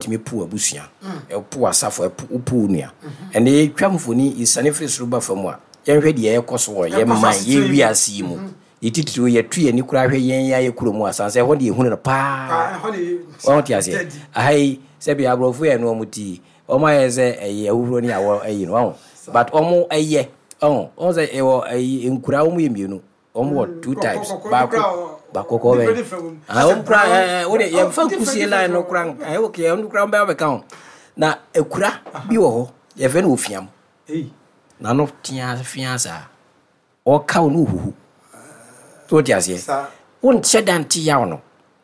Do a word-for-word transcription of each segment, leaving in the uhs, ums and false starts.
Wotumi po abusua, ɛpo asafo, ɛpo wopo wo nua. Ɛnna yɛtwa mfoni, yɛsane firi soro ba fam a, yɛnhwɛ deɛ ɛkɔ so wɔ yɛn man, yɛn wiase yi mu. Yɛtitiriw yɛto yɛn ani koraa hwɛ yɛn yɛ kurom asan sɛ ɛhɔ de yɛhunu no paa. Wɔn te aseɛ. Aha yi, sɛbi, aborɔfo yɛ no, wɔn ti wɔn ayɛ sɛ ɛyɛ ahuhuro ne awɔ ɛyi no wɔn, but wɔn ɛyɛ wɔn wɔn sɛ ɛwɔ ɛyi nkura, wɔn yɛ mmienu, wɔn wɔ two types, baako baako kɔkɔɔ bɛ, ah, wɔn kura ɛɛ wɔde yɛmfa nkusie line no kura ɛɛ okay, wɔn kura wɔn bɛ bɛka ho. Na ekura bi wɔ hɔ, yɛfrɛ no ofiam, n'ano tea fia saa, ɔka wo no ohuhu so, wote aseɛ? Wonkyɛ da nte yaw no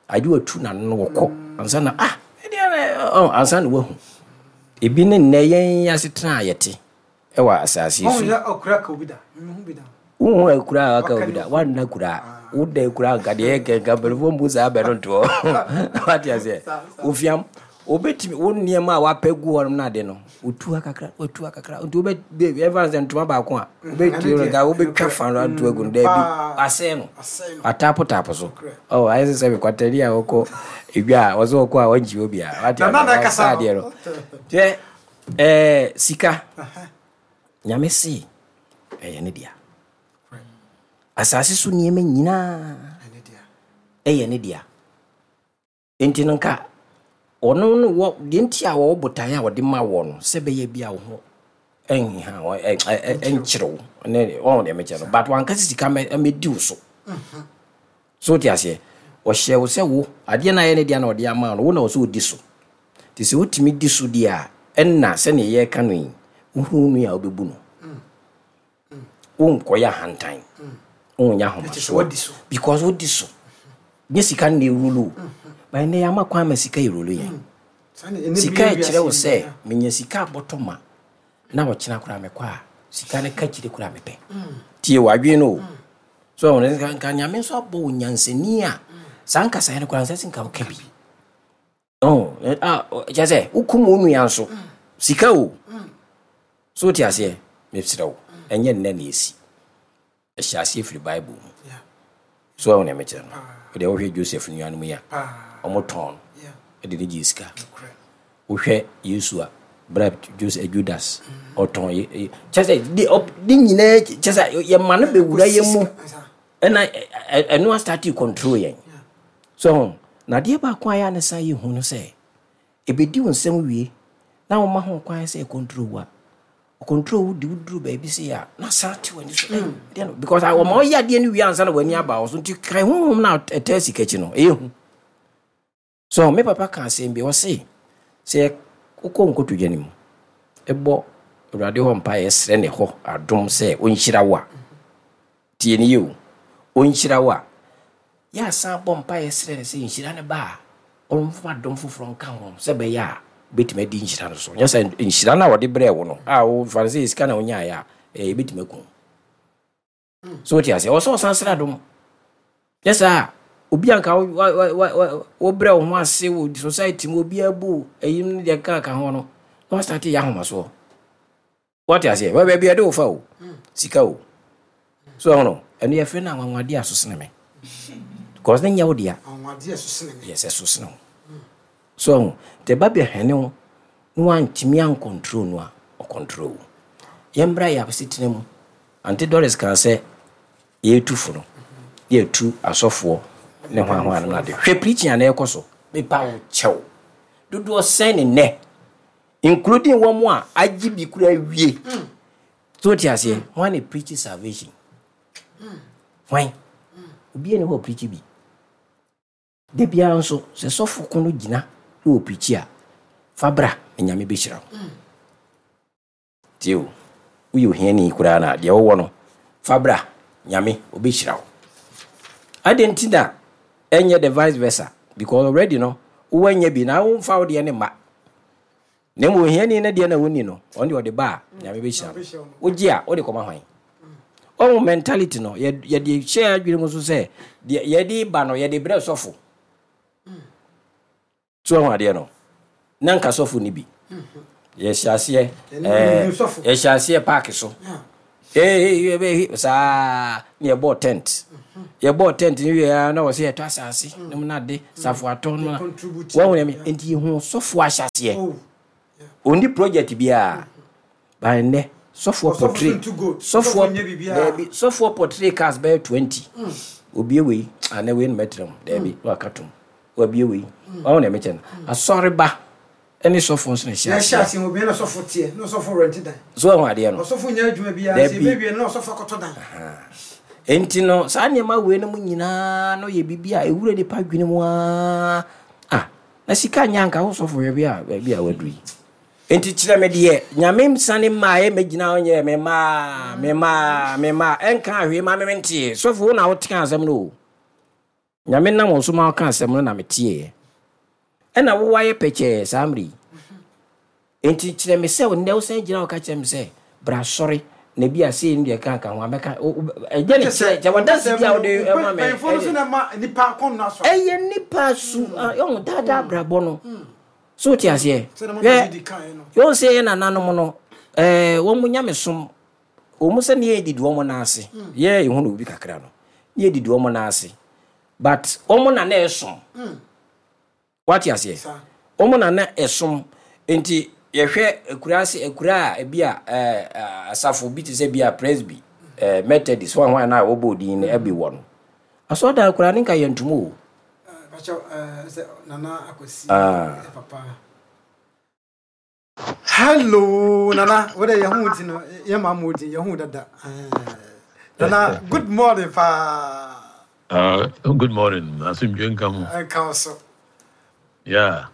agye watu n'ano no wɔkɔ ansa na ah ɛdeɛ ɔ ansa na wahu ebi. Ne nnɛ yɛn asetena a yɛte ɛwɔ asase yi so yi, wohu akura a waka obi da, wanna kura, woda akura nka deɛ yɛ nka mpanimfoɔ mbu saa bɛ no ntoɔ, wate aseɛ? Ofiam wobɛtumi wo nneɛma a wapɛ gu hɔ nom no ade no, wotu ha kakra, watu ha kakra, nti wobɛ ɛfa sɛ ntoma baako a wobɛtue no nka wobɛtwa fa no ato agu no, daabi, asɛe no, ataapotapo so. Ɔ ayɛ sɛ sɛ mekwatani a wɔkɔ edwa a wɔsɛ wɔkɔ a wɔnkyi wɔ bia, wate aseɛ? Saa adeɛ no hwɛ, ɛɛ sika, Nyame se ɛyɛ ne dea. Asase so nneɛma nyinaa ɛyɛ ne dea. Nti no nka ɔno no wɔ deɛ nti a wɔwɔ botaeɛ a wɔde ma wɔ no sɛ bɛyɛ bi a wo ho ɛnha ɛnkyerɛ wo ne ɔn deɛ mekyerɛ no, but wankasa sika mɛdi wo so so, wote aseɛ? Ɔhyɛ wo sɛ wo adeɛ no ayɛ ne deɛ na ɔde ama no, wo na ɔsɛ ɔdi so. Nti sɛ wotumi di so deɛ a, ɛnna sɛnea yɛreka no yi, wohu no a wobɛbu no, wonkɔyɛ ahantan, wonyɛ ahomasoɔ because wodi so. Nyɛ sika no na ɛrule wo, but ɛnnɛ yɛama kwan ma sika ɛrule yɛn. Sika ɛkyerɛ wo sɛ menya sika abɔtɔ ma na ɔkyena koraa mekɔ a, sika no ka kyire koraa mepɛ. Tie w'adwene no o. So nka nka Nyame nso abɔ wo nyansani a, saa nkasaeɛ no koraa nsɛ sɛ nka woka bi. Kyerɛ sɛ wokum wo nua nso sika o so, wote aseɛ? Mesrɛ wo, ɛnyɛ nnɛ na ɛsi. Ɛhyɛ aseɛ firi Bible mu so. Ɛwo na mekyerɛ no, wode wohwɛ Joseph nuanom yi a ɔmo tɔn no ɛde ne gye sika. Wohwɛ Yesu a bra Joseph, Judas ɔtɔn, kyerɛ sɛ de nyinaa, kyerɛ sɛ yɛma no bɛwura yɛ mu, ɛna ɛno astart control yɛn so. Na adeɛ baako a yɛ a ne san yɛ hu no sɛ ɛbɛdi wo nsɛm wie na woma ho kwan sɛ control wo a, control wo de woduru baabi sɛ a na san te w'ani so mm. no because wɔma ɔyɛ adeɛ no wie ansa na w'ani aba wo so. Nti kan honhom no a ɛtaa sika akyi no ɛyɛ hu so. Me papa ka asɛm bi, ɔse sɛ wokɔ nkotodwa no mu ɛbɔ Awurade hɔ mpa, yɛsrɛ ne hɔ adom sɛ ɔnhyira wo a, tie ne yie o, ɔnhyira wo a, yɛasan bɔ mpa yɛsrɛ no sɛ nhyira no ba a, ɔmfa adom foforɔ nka ho sɛ bɛyɛ a wobɛtumi adi nhyira no so. Nyɛ sɛ nhyira no a wɔde brɛɛ wo no a wofa no sɛ sika na wonyaeɛ a, ɛbɛtumi aku so, wote aseɛ? Ɔwɔ sɛ ɔsan srɛ adom. Nyɛ saa obi anka wobrɛ wo ho ase wɔ society mu, obiara bu ɛyi no deɛ ka ka ho no na wastart yɛ ahomasoɔ, wate aseɛ? Baabi ɛde wo fa o, sika o so ɛho no, ɛno yɛfrɛ no anwanwadeɛ a so sene me because ne nyɛ wo dea. Yes, ɛso sene wo so ɛho nti ɛba bɛhwɛne wo na wantumi ancontrol no a, ɔcontrol wo. Yɛmbra yɛ asetena mu. Auntie Doris kaa sɛ yɛtu fo no, yɛtu asɔfoɔ ne ho ahoa no ade. Hwɛ preaching a na ɛkɔ so, mepa wo kyɛw, dodoɔ sɛn ne nnɛ, including wɔn a agye bi kura awie so, wote aseɛ? Hwan na preach salvation? Hwan? Obiara ne hɔ preach bi da biara nso. Sɛ sɔfo ko no gyina na wɔ preach a, fa bra na Nyame bɛhyira wo. Tie o, woyɛ ohiani koraa na deɛ wowɔ no, fa bra, Nyame ɔbɛhyira wo. Adɛn nti na ɛnyɛ the vice versa? Because already no wowɔ nyɛ bi na womfa wo deɛ ne mma, na mmom ohiani no deɛ na wonni no, ɔno deɛ ɔde ba a, Nyame bɛhyira no. Wogye a, wode kɔma hwan? Ɔmo mentality no yɛde hyɛ adwene mu so sɛ deɛ yɛde ba no, yɛde brɛ sɔfo so. Ɛho adeɛ no na nka sɔfo ni bi yɛhyɛ aseɛ, ɛɛ yɛhyɛ aseɛ paaki so. Ee ee saa ne yɛbɔɔ tent, yɛbɔɔ tent no wie a, na wɔ sɛ yɛtɔ asase ne mu nade safo atɔ no. Contribute. Wɔn yɛ nti yɛhu sɔfoɔ ahyɛseɛ. Oh. Ɔnni project biara ba nnɛ sɔfoɔ Ɔsɔfo portray so ntu gold. Sɔfoɔ Ɔsɔfo nyɛ biribiara. Daabi, sɔfoɔ portray cars bɛyɛ twenty. Obie wei ana wei no mɛtena mu, daabi, na waka tom wabie wei. Wɔn na ɛmɛkyɛ no asɔreba ɛne sɔfoɔ nso na ɛhyɛ yɛhyɛ aseɛ. Ase obi na ɔsɔfo teɛ na ɔsɔfo rent dan. So wɔn adeɛ no Ɔsɔfo nyɛ adwuma biara sɛ Dabi. ebewie no na ɔsɔfo akɔtɔ dan. Nti no saa nneɛma wei no mu nyinaa no yɛ biribi a ɛwura nipa adwene mu aa. Ah, na sika nyɛ anka wo sɔfo, hwɛ bi a baabi a waduru yi. Nti kyerɛ me deɛ Nyame nsane mmaa ɛ mɛgyina hɔ nyɛ me maa me maa me maa ɛnka ahwee ma me menteɛ. Sɔfo, wo na wote asɛm no o. Nyame nam wo so ma woka asɛm no na meteeɛ, ɛna wowayɛ pɛkyɛɛ saa mmerɛ yi. Nti kyerɛ me sɛ nnɛ wosan gyina hɔ ka kyerɛ me sɛ bra sɔre na bi a sei no deɛ ka ka ho a mɛka ɛgya ne kyerɛ kyɛ wadanse bi a wode ɛma me. Mpanyinfoɔ no so na ma nipa kɔn no asɔre. Ɛyɛ nipa su ɔhu daadaa abrabɔ no so, wote aseɛ? Sɛdeɛ mama hwɛ didi kaeɛ no. Yɛhu sɛ yɛ nananom no ɛɛ wɔn mu nyamesom wɔn mu sɛ ne yɛ didi wɔn nan ase, yɛ ehu na obi kakra no ne yɛ didi wɔn nan ase, but wɔn na na ɛsom, wate aseɛ? Saa. Wɔn na na ɛsom. Nti yɛhwɛ akura ase, akura a ebi a ɛɛ asafo bi te sɛ bi a Presby, ɛɛ Methodist, wɔn a na wɔbɔ odin no ɛbi wɔ no asɔredan akura ne nka yɛ ntom o. Bakyɛw, ɛɛ sɛ Nana Akwasi. Ah. Ɛ, papa. Hello Nana, wo de yɛn ho ti no yɛn maa mo di yɛn ho dada. Ɛɛ, Nana, good morning paa. Uh, good morning. Asomdwe nka mo. Ɛnka wo so. Yeah.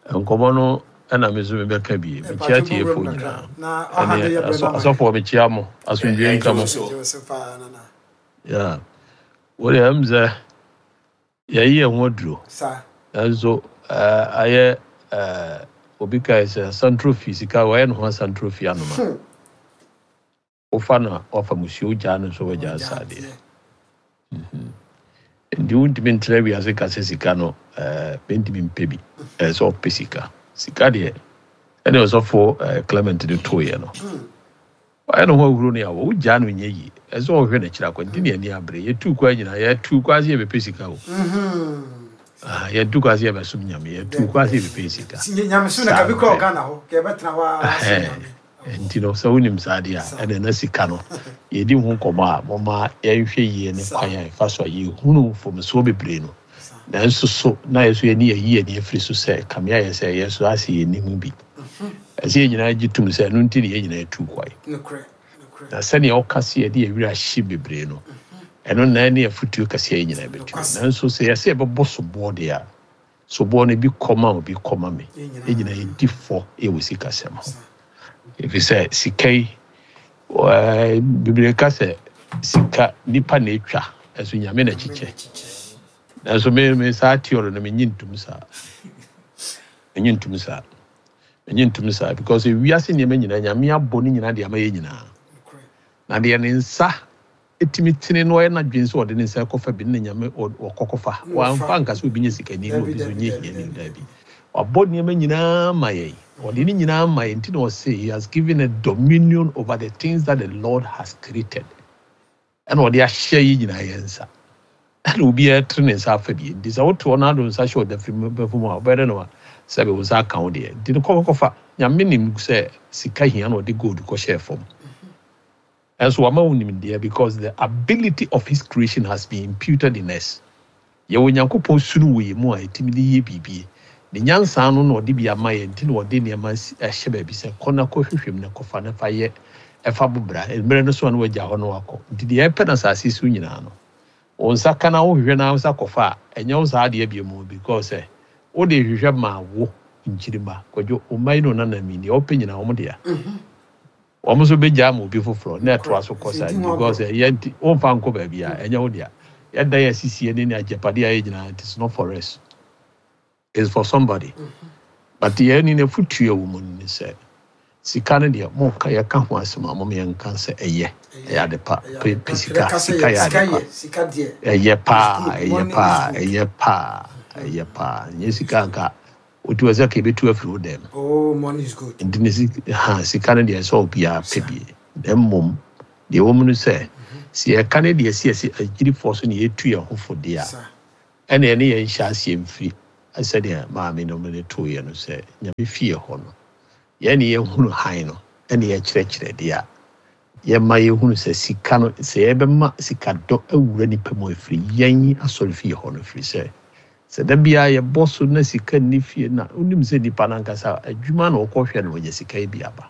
Nkɔmmɔ no ɛna me nso mebɛka bi. Mekyia tiefoɔ nyinaa. Na ɔha de Ɛne yɛ brɛ asɔ- na ma. asɔfoɔ, mekyia mo. Asomdwe nka mo. Gye wo so paa, Nana. Yeah. Wode ɛm sɛ yɛyi yɛn ho aduro. Saa. Nanso uh, ayɛ uh, obi kae sɛ asantro fi sika wɔyɛ ne ho asantro fi anoma. Hmm. Wofa no a wafa musuo, gyaa no nso wagyaa saa deɛ. Nti wontumi ntena wiase ka sɛ sika no ɛɛ bɛntumi mpɛ bi. Ɛɛ sɛ ɔpɛ sika, sika deɛ ɛne ɔsɔfo ɛɛ Clement de toeɛ no, ɔyɛ ne ho ahuro no awɔ wogyaa no nyɛ yie. Ɛsɛ sɛ ɔhwɛ n'akyiri akɔ. Nti ne ani abere yɛtuu kwa nyinaa, yɛtuu kwa sɛ yɛbɛpɛ sika o. Mhm. Ah, yɛtu kwa sɛ yɛbɛsom Nyame, yɛtuu kwa sɛ yɛbɛpɛ sika. Nyamesom na kabi kora Ghana hɔ kɛ yɛbɛtena hɔ a som Ɛhɛn. Nyame. Nti no sɛ wonim saa deɛ a, ɛne na sika no yɛdi ho nkɔmmɔ a, mɔma yɛnhwɛ yie ne kwan a yɛfa so a yɛhunu mfomsoɔ bebree no. Nanso so na yɛ so yɛne yɛyi yɛni afiri so sɛ kame ayɛ sɛ yɛ so ase yɛnim bi. Ɛsɛ yɛn nyinaa gye tom sɛ ɛno nti ne yɛn nyinaa tu kwae. Nokorɛ, nokorɛ. Na sɛnea ɔka se yɛde yɛwerɛ ahye bebree no, ɛno na ne afotuo kɛseɛ yɛn nyinaa bɛtu. Nanso sɛ yɛsɛ yɛbɛbɔ soboɔ deɛ a, soboɔ no bi kɔma obi kɔma me. Yɛn nyinaa. Yɛn nyinaa yɛdi fɔ yɛwɔ sikasɛm ho, ɛfiri sɛ sika yi ɛɛ, bebree ka sɛ sika nipa na etwa, ɛso Nyame na kyekyɛ. Nanso me me saa theory no, menyi ntom saa, menyi ntom saa, menyi ntom saa, because ewiase nneɛma nyinaa Nyame abɔ ne nyinaa de ama yɛn nyinaa. Nokorɛ. Na deɛ ne nsa etumi tene no, ɔyɛ n'adwene sɛ ɔde ne nsa kɔfa bi ne Nyame ɔ- ɔkɔkɔfa. Wamfa nka sɛ obi nyɛ sikani na Dabi, obi nso dabi, nyɛ dabi, hiani. Dabi. Dabi, wabɔ nneɛma nyinaa ma yɛn, ɔde ne nyinaa ma yɛn. Nti na ɔse he has given a dominion over the things that the Lord has created, ɛna ɔde ahyɛ yi nyinaa yɛn nsa, ɛna obiara tene ne nsa afa bi. Nti sɛ wote hɔ na ado nsa hyɛ ɔda firi mu bɛfo mu a, ɔbɛyɛ dɛ no a sɛbe wo nsa aka wo deɛ. Nti no kɔkɔkɔfa Nyame nim sɛ sika hia na ɔde gold kɔhyɛɛ fam. Ɛnso wama wo nimdeɛ, because the ability of his creation has been imputed in us. Yɛwɔ Nyankopɔn sunu wɔ yɛn mu a yɛtumi de yɛ biribi. Ne nyansa no na ɔde bi ama yɛn. Nti na ɔde nneɛma asi- ahyɛ baabi sɛ kɔ na kɔhwehwɛ mu na kɔfa na fa yɛ ɛfa bobra mmerɛ no so a na wagya hɔ no wakɔ. Nti deɛ ɛpɛ no asase so nyinaa no, wo nsa ka na wohwehwɛ na wo nsa kɔfa a, ɛnyɛ wo saa adeɛ bio mu, because sɛ wode hwehwɛ ma wo nkyirima Kwadwo, wo mma yi no nanam yi, deɛ wopɛ nyinaa wɔn dea, wɔn nso bɛgya ama obi foforɔ na ɛtoa so kɔ saa. Nti ho because ɛyɛ nti womfa nkɔ baabi a ɛnyɛ wo dea. Yɛda yɛ asisie ne ne agyapadeɛ a yɛ nyinaa, it is not for us, it's for somebody. But yɛn ni n'afotuo a wɔ mu no ne sɛ sika no deɛ, moka yɛka ho asɛm a, mom yɛnka sɛ ɛyɛ ɛyɛ ade pa. Pɛ pɛ sika, sika yɛ Sika ade pa. Yɛ sika deɛ. Ɛyɛ paa. It's good. Ɛyɛ Money is paa. good. Ɛyɛ paa, ɛyɛ paa. Nyɛ sika nka wotu wɔ sɛ ka ebetu afiri wo dɛm. Oh, money is good. Nti ne sika ha, sika no deɛ, sɛ obiara pɛ bi, na mmom Deɛ ɛwɔ mu no sɛ, sɛ yɛka ne deɛ ɛsi ɛsi agyirifoɔ so ne yɛtu yɛn ho fo deɛ a, ɛne ɛne yɛn hyɛ aseɛ mfiri sɛdeɛ maame no de tooyɛ no sɛ Nyame fie hɔ no, yɛn ne yɛhunu hann no ɛne yɛkyerɛkyerɛ deɛ a, yɛma yɛhunu sɛ sika no, sɛ yɛbɛma sikadɔ awura nipa mu afiri yɛn asɔre fie hɔ no, firi sɛ sɛ da biara yɛbɔ so na sika nni fie na wonim sɛ nipa no ankasa adwuma na ɔkɔhwɛ no wɔnya sika yi bi aba.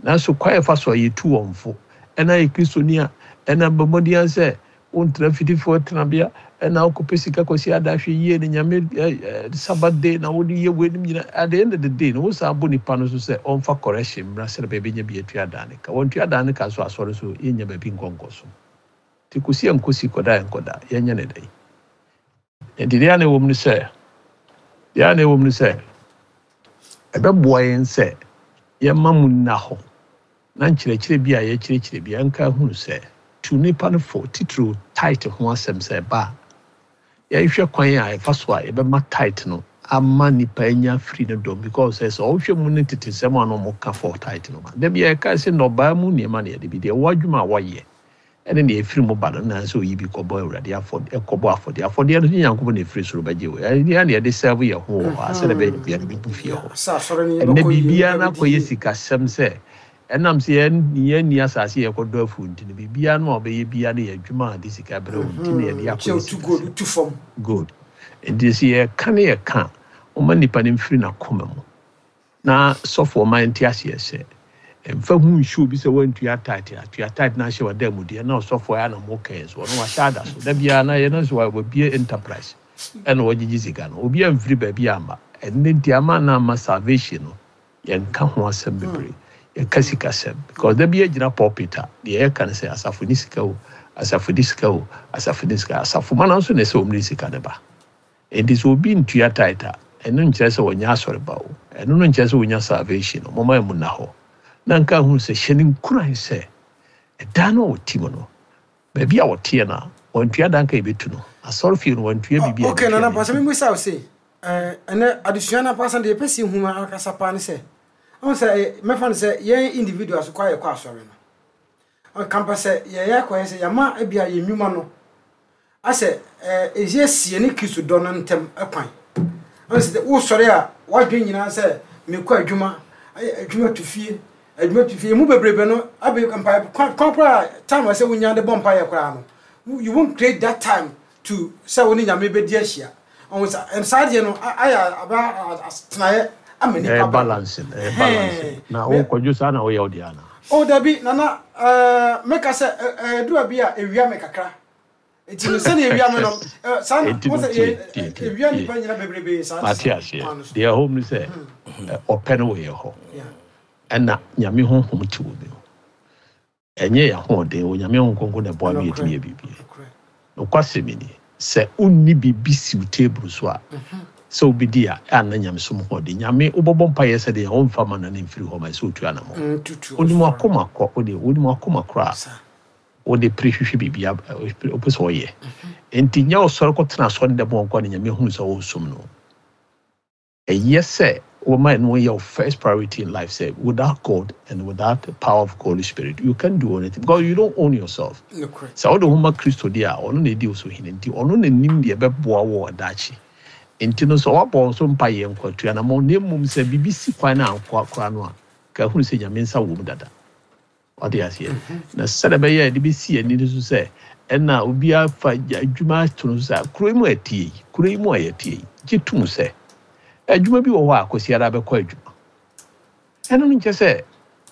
Nanso kwan a yɛfa so a yɛtu wɔn fo, ɛna yɛ Kristoni a, ɛna bɔ mmɔden sɛ wontena fitifoɔ tenabea, ɛna wokɔpɛ sika kɔsi ada hwɛ yie ne Nyame Sabbath day na wode yɛ weinom nyinaa. At the end of the day no, wosan bɔ nipa no so sɛ ɔmfa correction mmra sɛdeɛ bɛbɛnya bi atua dan ne ka. Wɔntua dan ne ka so asɔre so yɛnya baabi nkɔ nkɔ so. Nti kɔsi a nkɔsi kɔda a nkɔda, yɛnyɛ ne dɛn. Nti deɛ a na ɛwɔ mu no sɛ, deɛ a na ɛwɔ mu no sɛ, ɛbɛboa yɛn sɛ yɛma mu nna hɔ na nkyerɛkyerɛ bi a yɛkyerɛkyerɛ bi ɛnka hunu sɛ tu nipa no fo titiriw tithe ho asɛm sɛ ɛba a, yɛnhwɛ kwan a ɛfa so a yɛbɛma tithe no ama nipa anya firi no dɔm, because sɛ sɛ ɔhwɛ mu ne tete sɛm a na ɔmo ka for tithe no ma dabi yɛka sɛ nnɔbaa mu nneɛma na yɛde bi deɛ ɛwɔ adwuma a wɔyɛ ɛne deɛ ɛfiri mu ba no na sɛ oyi bi kɔbɔ Awurade afɔdeɛ, ɛkɔbɔ afɔdeɛ afɔdeɛ no Nyankopɔn na ɛfiri soro bɛgye wo. Ɛne na yɛde serve yɛn ho wɔ hɔ a sɛdeɛ ɛbɛyɛ bia no bɛbu fie hɔ. Sɛ asɔre no ɛnɛ yɛbɛkɔ yie, biribiara nipa no bɛdi akɔyɛ yie. Sikasɛm sɛ ɛnam sɛ yɛn yɛn asase yɛkɔdɔ afu nti no, biribiara no a ɔbɛyɛ biara no yɛ adwuma a de sika brɛ wo nti na yɛde kyɛ akɔyɛ wotu gold sikasɛm. Wotu fam. Good. Nti sɛ yɛka ne yɛka ɔma nipa no mfiri n'akoma mu na sɔfo ɔma nte aseɛ sɛ mfa hu nhyɛ obi sɛ wantua tithe, atua tithe na ahyɛ wada mu deɛ na ɔsɔfo ayɛ na mo kɛn so ɔno wahyɛ ada so da biara na yɛ no so wabie enterprise ɛna wɔgyegye sika no obi amfiri baabi amma. Ɛno nti ama na ama salvation no yɛnka ho asɛm bebree, yɛka sikasɛm because da bi gyina pulpit a deɛ yɛka no sɛ asafo ne sika o, asafo de sika o, asafo ne sika, asafo ma no nso na ɛsɛ wɔn de sika ne ba. Nti sɛ obi ntua tithe a, ɛno nkyerɛ sɛ wɔnyɛ asɔre ba o, ɛno no nkyerɛ sɛ wɔnya salvation no. Mɔma mu na hɔ na nka hu sɛ hyɛ ne nkuran sɛ ɛdan no a wɔte mu no, baabi a wɔteɛ no a wɔntua dan ka yɛbɛtu no asɔre fie no wɔntua biribi a Okay. yɛbɛtua Nana ne pasɛ nti. Memmisa wo se ɛnɛ adesua no apasa deɛ yɛpɛ sɛ yɛhu ma ankasa paa ne sɛ ɔhu sɛ eh, mɛfa no sɛ yɛn individuals kɔ a yɛkɔ asɔre no kampa sɛ yɛyɛ akɔyɛ sɛ yɛma ebia yɛn nnwuma no asɛ ɛsi asie ne Kristo dɔ no ntɛm ɛkwan. Ɔhu sɛ wosɔre a woadwen nyinaa sɛ mekɔ adwuma, ayɛ adwuma to fie, adwuma to fie emu bebrebe no abe mpa kwan kwan koraa time a sɛ wonya de bɔ mpaeɛ koraa no, you won't create that time to sɛ wo ne Nyame bɛdi ahyia. Ɔhu sɛ saa deɛ no a- ayɛ aba atenaeɛ ama nipa ɛyɛ ba balance, ɛyɛ balance na wokɔdwo saa na woyɛ wo deɛ ana? O dabi Nana, ɛɛ meka sɛ ɛɛ bi a ewia me kakra nti no sɛdeɛ ewia me no ɛɛ saa na Enti no wɔn sɛ tie yɛ tie tie ewia tie nipa nyina bebrebe saa te mate saa aseɛ kwan no so. Deɛ ɛhɔ mu sɛ ɛ, ɔpɛ no wɔ yɛ hɔ Yeah. ɛna Nyame honhom te wɔ mu. Ɛnyɛ yɛn ahoɔden, Onyame Honhom Kronkron na ɛboa me yɛtumi yɛ biribi. Nokorɛ. Nokwasɛm ni sɛ wonni biribi si wo table so a sɛ wobɛdi a ɛanna nyamesom hoɔden Nyame wobɛbɔ mpayɛ sɛ deɛ wɔmfa ma no ne mfiri hɔ ma sɛ wotu anammɔ. Mm, tutu Wonim akoma kɔ wode wonim akoma koraa saa wode pere hwehwɛ biribi a wopɛ sɛ ɔyɛ. Enti nyɛ ɔsɔre kɔtena asɔre dɛm wɔ nkɔ ne Nyame hunu sɛ wɔresom no. Ɛyɛ sɛ wɔma ɛno yɛ wo first priority in life sɛ without God and without the power of Holy Spirit you can't do anything because you don't own yourself. Nokorɛ. Sɛ wode ho ma Kristo deɛ a, ɔno na ɛdi wo so hene nti ɔno na nim deɛ ɛbɛboa wo wɔ daakye. Nti no sɛ woabɔ wo so mpa yɛ nkwatua na ma na mmom sɛ biribi si kwan no ankɔ koraa no a ka hunu sɛ Nyame nsa wɔ mu dada. Wate aseɛ? Na sɛdeɛ ɛbɛyɛ a yɛde bɛsi ani no so sɛ ɛna obiara fa adwuma ato no so sɛ kuro yi mu a yɛte yi, kuro yi mu a yɛte yi, gye tom sɛ adwuma bi wɔ hɔ a Kwasi ara bɛkɔ adwuma. Ɛno no nkyɛ sɛ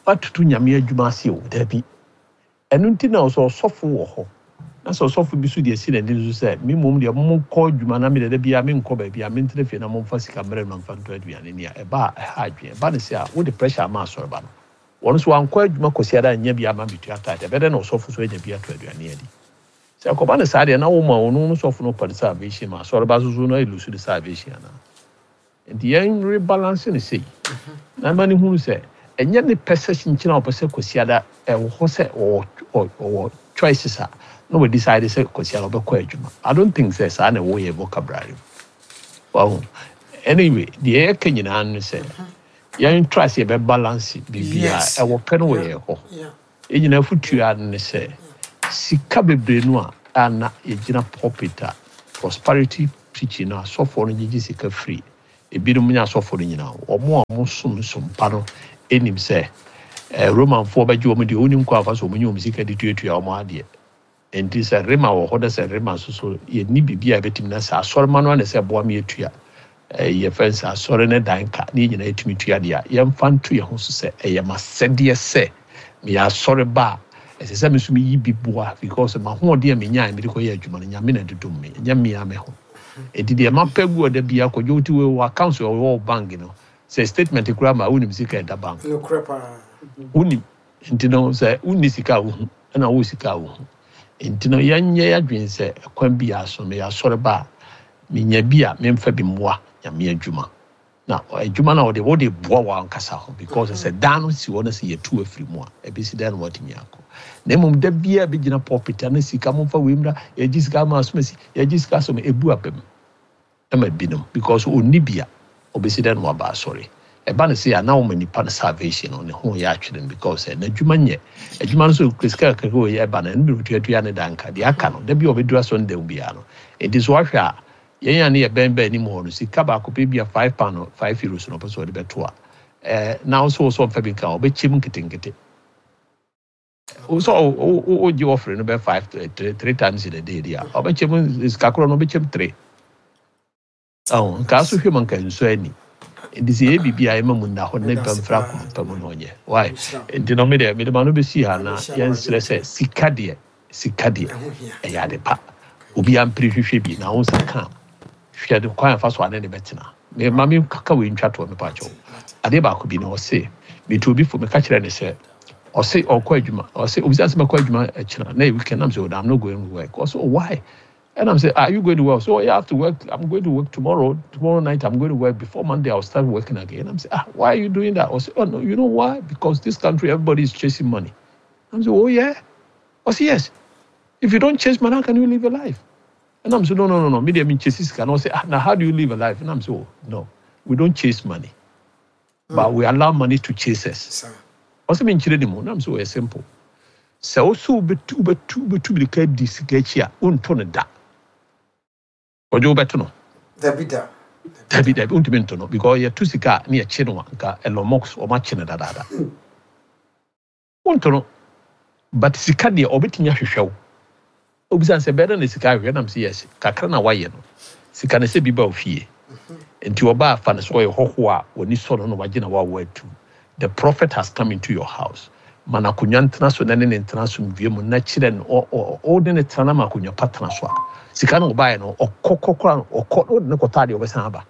woatoto Nyame adwuma ase o, daabi. Ɛno nti na sɛ ɔsɔfo wɔ hɔ na sɛ ɔsɔfo bi so deɛ si n'ani so sɛ me mmom deɛ monkɔ adwuma na mede da biara menkɔ baabi a mentena fie na momfa sika mmerɛ no mfa ntɔ aduane ni a ɛba a ɛha adwene. Ɛba ne sɛ a wode pressure ama asɔreba no, wɔno nso wankɔ adwuma Kwasi ara anya bi ama metua tithe, ɛbɛdɛ na ɔsɔfo so anya bi ato aduane adi. Sɛ ɛkɔba ne saa deɛ na woma ɔno no sɔfo no kɔ ne salvation ma asɔreba so so no ɛlose ne salvation anaa. Nti yɛn rebalance ne sei na ma ne hunu sɛ ɛnyɛ ne pɛ sɛ kyenkyene a ɔpɛ sɛ Kwasiada ɛwɔ hɔ sɛ ɔwɔ ɔwɔ choices a na wɔ decide sɛ Kwasiada ɔbɛkɔ adwuma. I don't think sɛ saa na ɛwɔ yɛ vocabulary mu. Wahu? Anyway, deɛ yɛka nyinaa no sɛ yɛn try sɛ yɛbɛ balance biribiara. Yes. Ɛwɔ pɛ no wɔ Yeah. yɛn hɔ. Yeah. Yɛn nyinaa afotuo ne sɛ sika bebree no a ana yɛgyina pulpit a prosperity preaching no, asɔfoɔ no gyegye sika firi ebinom nyɛ asɔfoɔ no nyinaa, wɔn a wɔn som som pa no anim sɛ ɛɛ Romanfoɔ bɛgye wɔn deɛ onim kɔ afa so wɔn nye wɔn sika de tuatua wɔn adeɛ. Nti sɛ rema wɔ hɔ na sɛ rema nso so yɛnni biribi a yɛbɛtumi na sɛ asɔrema no ana sɛ ɛboa me yɛtua ɛɛ yɛfɛ sɛ asɔre ne dan ka ne yɛn nyinaa yɛtumi tua deɛ a, yɛmfa nto yɛn ho so sɛ ɛyɛ m'asɛdeɛ sɛ meyɛ asɔre ba a, ɛsɛ sɛ me nso meyi bi boa, because m'ahoɔden a menyaa mede kɔyɛ adwuma no, Nyame na dodom me, ɛnyɛ mmea me ho. Enti deɛ mapɛ gu ɔda bi akɔdwo wote wei wɔ account wɔ wɔ bank no sɛ statement koraa ma wonim sika ɛda bank. Nokorɛ paa. Wonim. Nti no sɛ wonni sika a wohu ɛna wowɔ sika a wohu. Nti no yɛnyɛ yɛadwene sɛ ɛkwan bi a so meyɛ asɔre ba a, menya bi a memfa bi mmoa Nyame adwuma. Na adwuma no a wode wode boa wɔ ankasa ho, because sɛ dan no si hɔ no sɛ yɛtu afiri mu a, ɛbɛsi dan no watumi akɔ. Na mmom da biara bɛgyina pulpit a na sika momfa wei mmra, yɛgye sika ama asomasi, yɛgye sika asom, ɛbu aba mu ɛma binom, because ɔnni bi a ɔbɛsi dan no waba asɔre. Ɛba no sɛ a na wɔma nipa no salvation no ne ho yɛ atwere no, because ɛ n'adwuma nyɛ adwuma no so sika kakra wɔ yɛ ɛba no, ɛno bi tuatua ne danka deɛ aka no da bi a ɔbɛduru asɔre dan biara no. Nti so wahwɛ a yɛn a ne yɛ bɛn bɛn anim hɔ no, sika baako pɛ bi a five pound no, five euros no ɔpɛ sɛ ɔde bɛto a ɛɛ na nso wɔ so ɔmfa bi nka ɔbɛkyɛ mu nketenkete wosɔ wogye wɔfere no bɛ five three three times in a day deɛ a ɔbɛkyɛ mu sika korɔ no, ɔbɛkyɛ mu three. Ɔho nkaa so hwɛ mu nka nsuo ani. Nti sɛ yɛ biribi a ɛma mu nna hɔ na nipa mfra akoma pa mu na ɔnyɛ why. Nti no mede mede ma no bɛsi ha na yɛnsrɛ sɛ sika deɛ, sika deɛ ɛho hia. Ɛyɛ ade pa, obi ampere hwehwɛ bi na wo nsa ka a, hwɛ de kwan afa so ane ne bɛtena. Me ma me kaka wei ntwa toɔ, mepa kyɛw. Adeɛ baako bi na ɔse metu obi fo, meka kyerɛ ne sɛ ɔse ɔkɔ adwuma, ɔse obisa sɛ mɛkɔ adwuma akyina na yɛ weekend nam sɛ, "Oh, I'm not going to work." Ɔse, "Oh, why?" And I'm saying, "Are you going to work?" "So yeah, I have to work. I'm going to work tomorrow. Tomorrow night, I'm going to work. Before Monday, I'll start working again." I'm saying, "Ah, why are you doing that?" I say, "Oh, no, you know why? Because this country, everybody is chasing money." I'm saying, "Oh, yeah?" I say, "Yes. If you don't chase money, how can you live a life?" And I'm saying, "No, no, no, no. Me, I mean, chase this." And I say, "Ah, now how do you live a life?" And I'm saying, "Oh, no, we don't chase money, but we allow money to chase us." Saa. Ɔsɛ me nkyerɛ ne mu nam sɛ ɔyɛ simple sɛ wo sɛ wobɛtu wobɛtu wobɛtu mirika di sika akyi a, wonto no da. Ɔgye wobɛto no? Dabi da. Dabi dabi, wontumi nto no, because yɛto sika a ne yɛkye no a, nka Elon Musk ɔmakye no dadaada. Wonto no, but sika deɛ ɔbɛtumi ahwehwɛ wo. Obisa sɛ bɛyɛ dɛ na sika ahwehwɛ nam sɛ yes, kakra na wayɛ no, sika no sɛ bi ba wo fie nti ɔbaa afa no sɛ ɔyɛ hɔhoɔ a w'ani sɔ no na wagye na wawo atu. The prophet has come into your house, ma no akonnwa ntena so na ne ne ntena asomdwie mu na kyerɛ no ɔ- ɔ- ɔde ne tena na ma akonnwa pa tena so a, sika no ɔbaeɛ no ɔkɔ kɔkora ɔkɔ na wode ne kɔtɔ adeɛ, ɔbɛsan aba.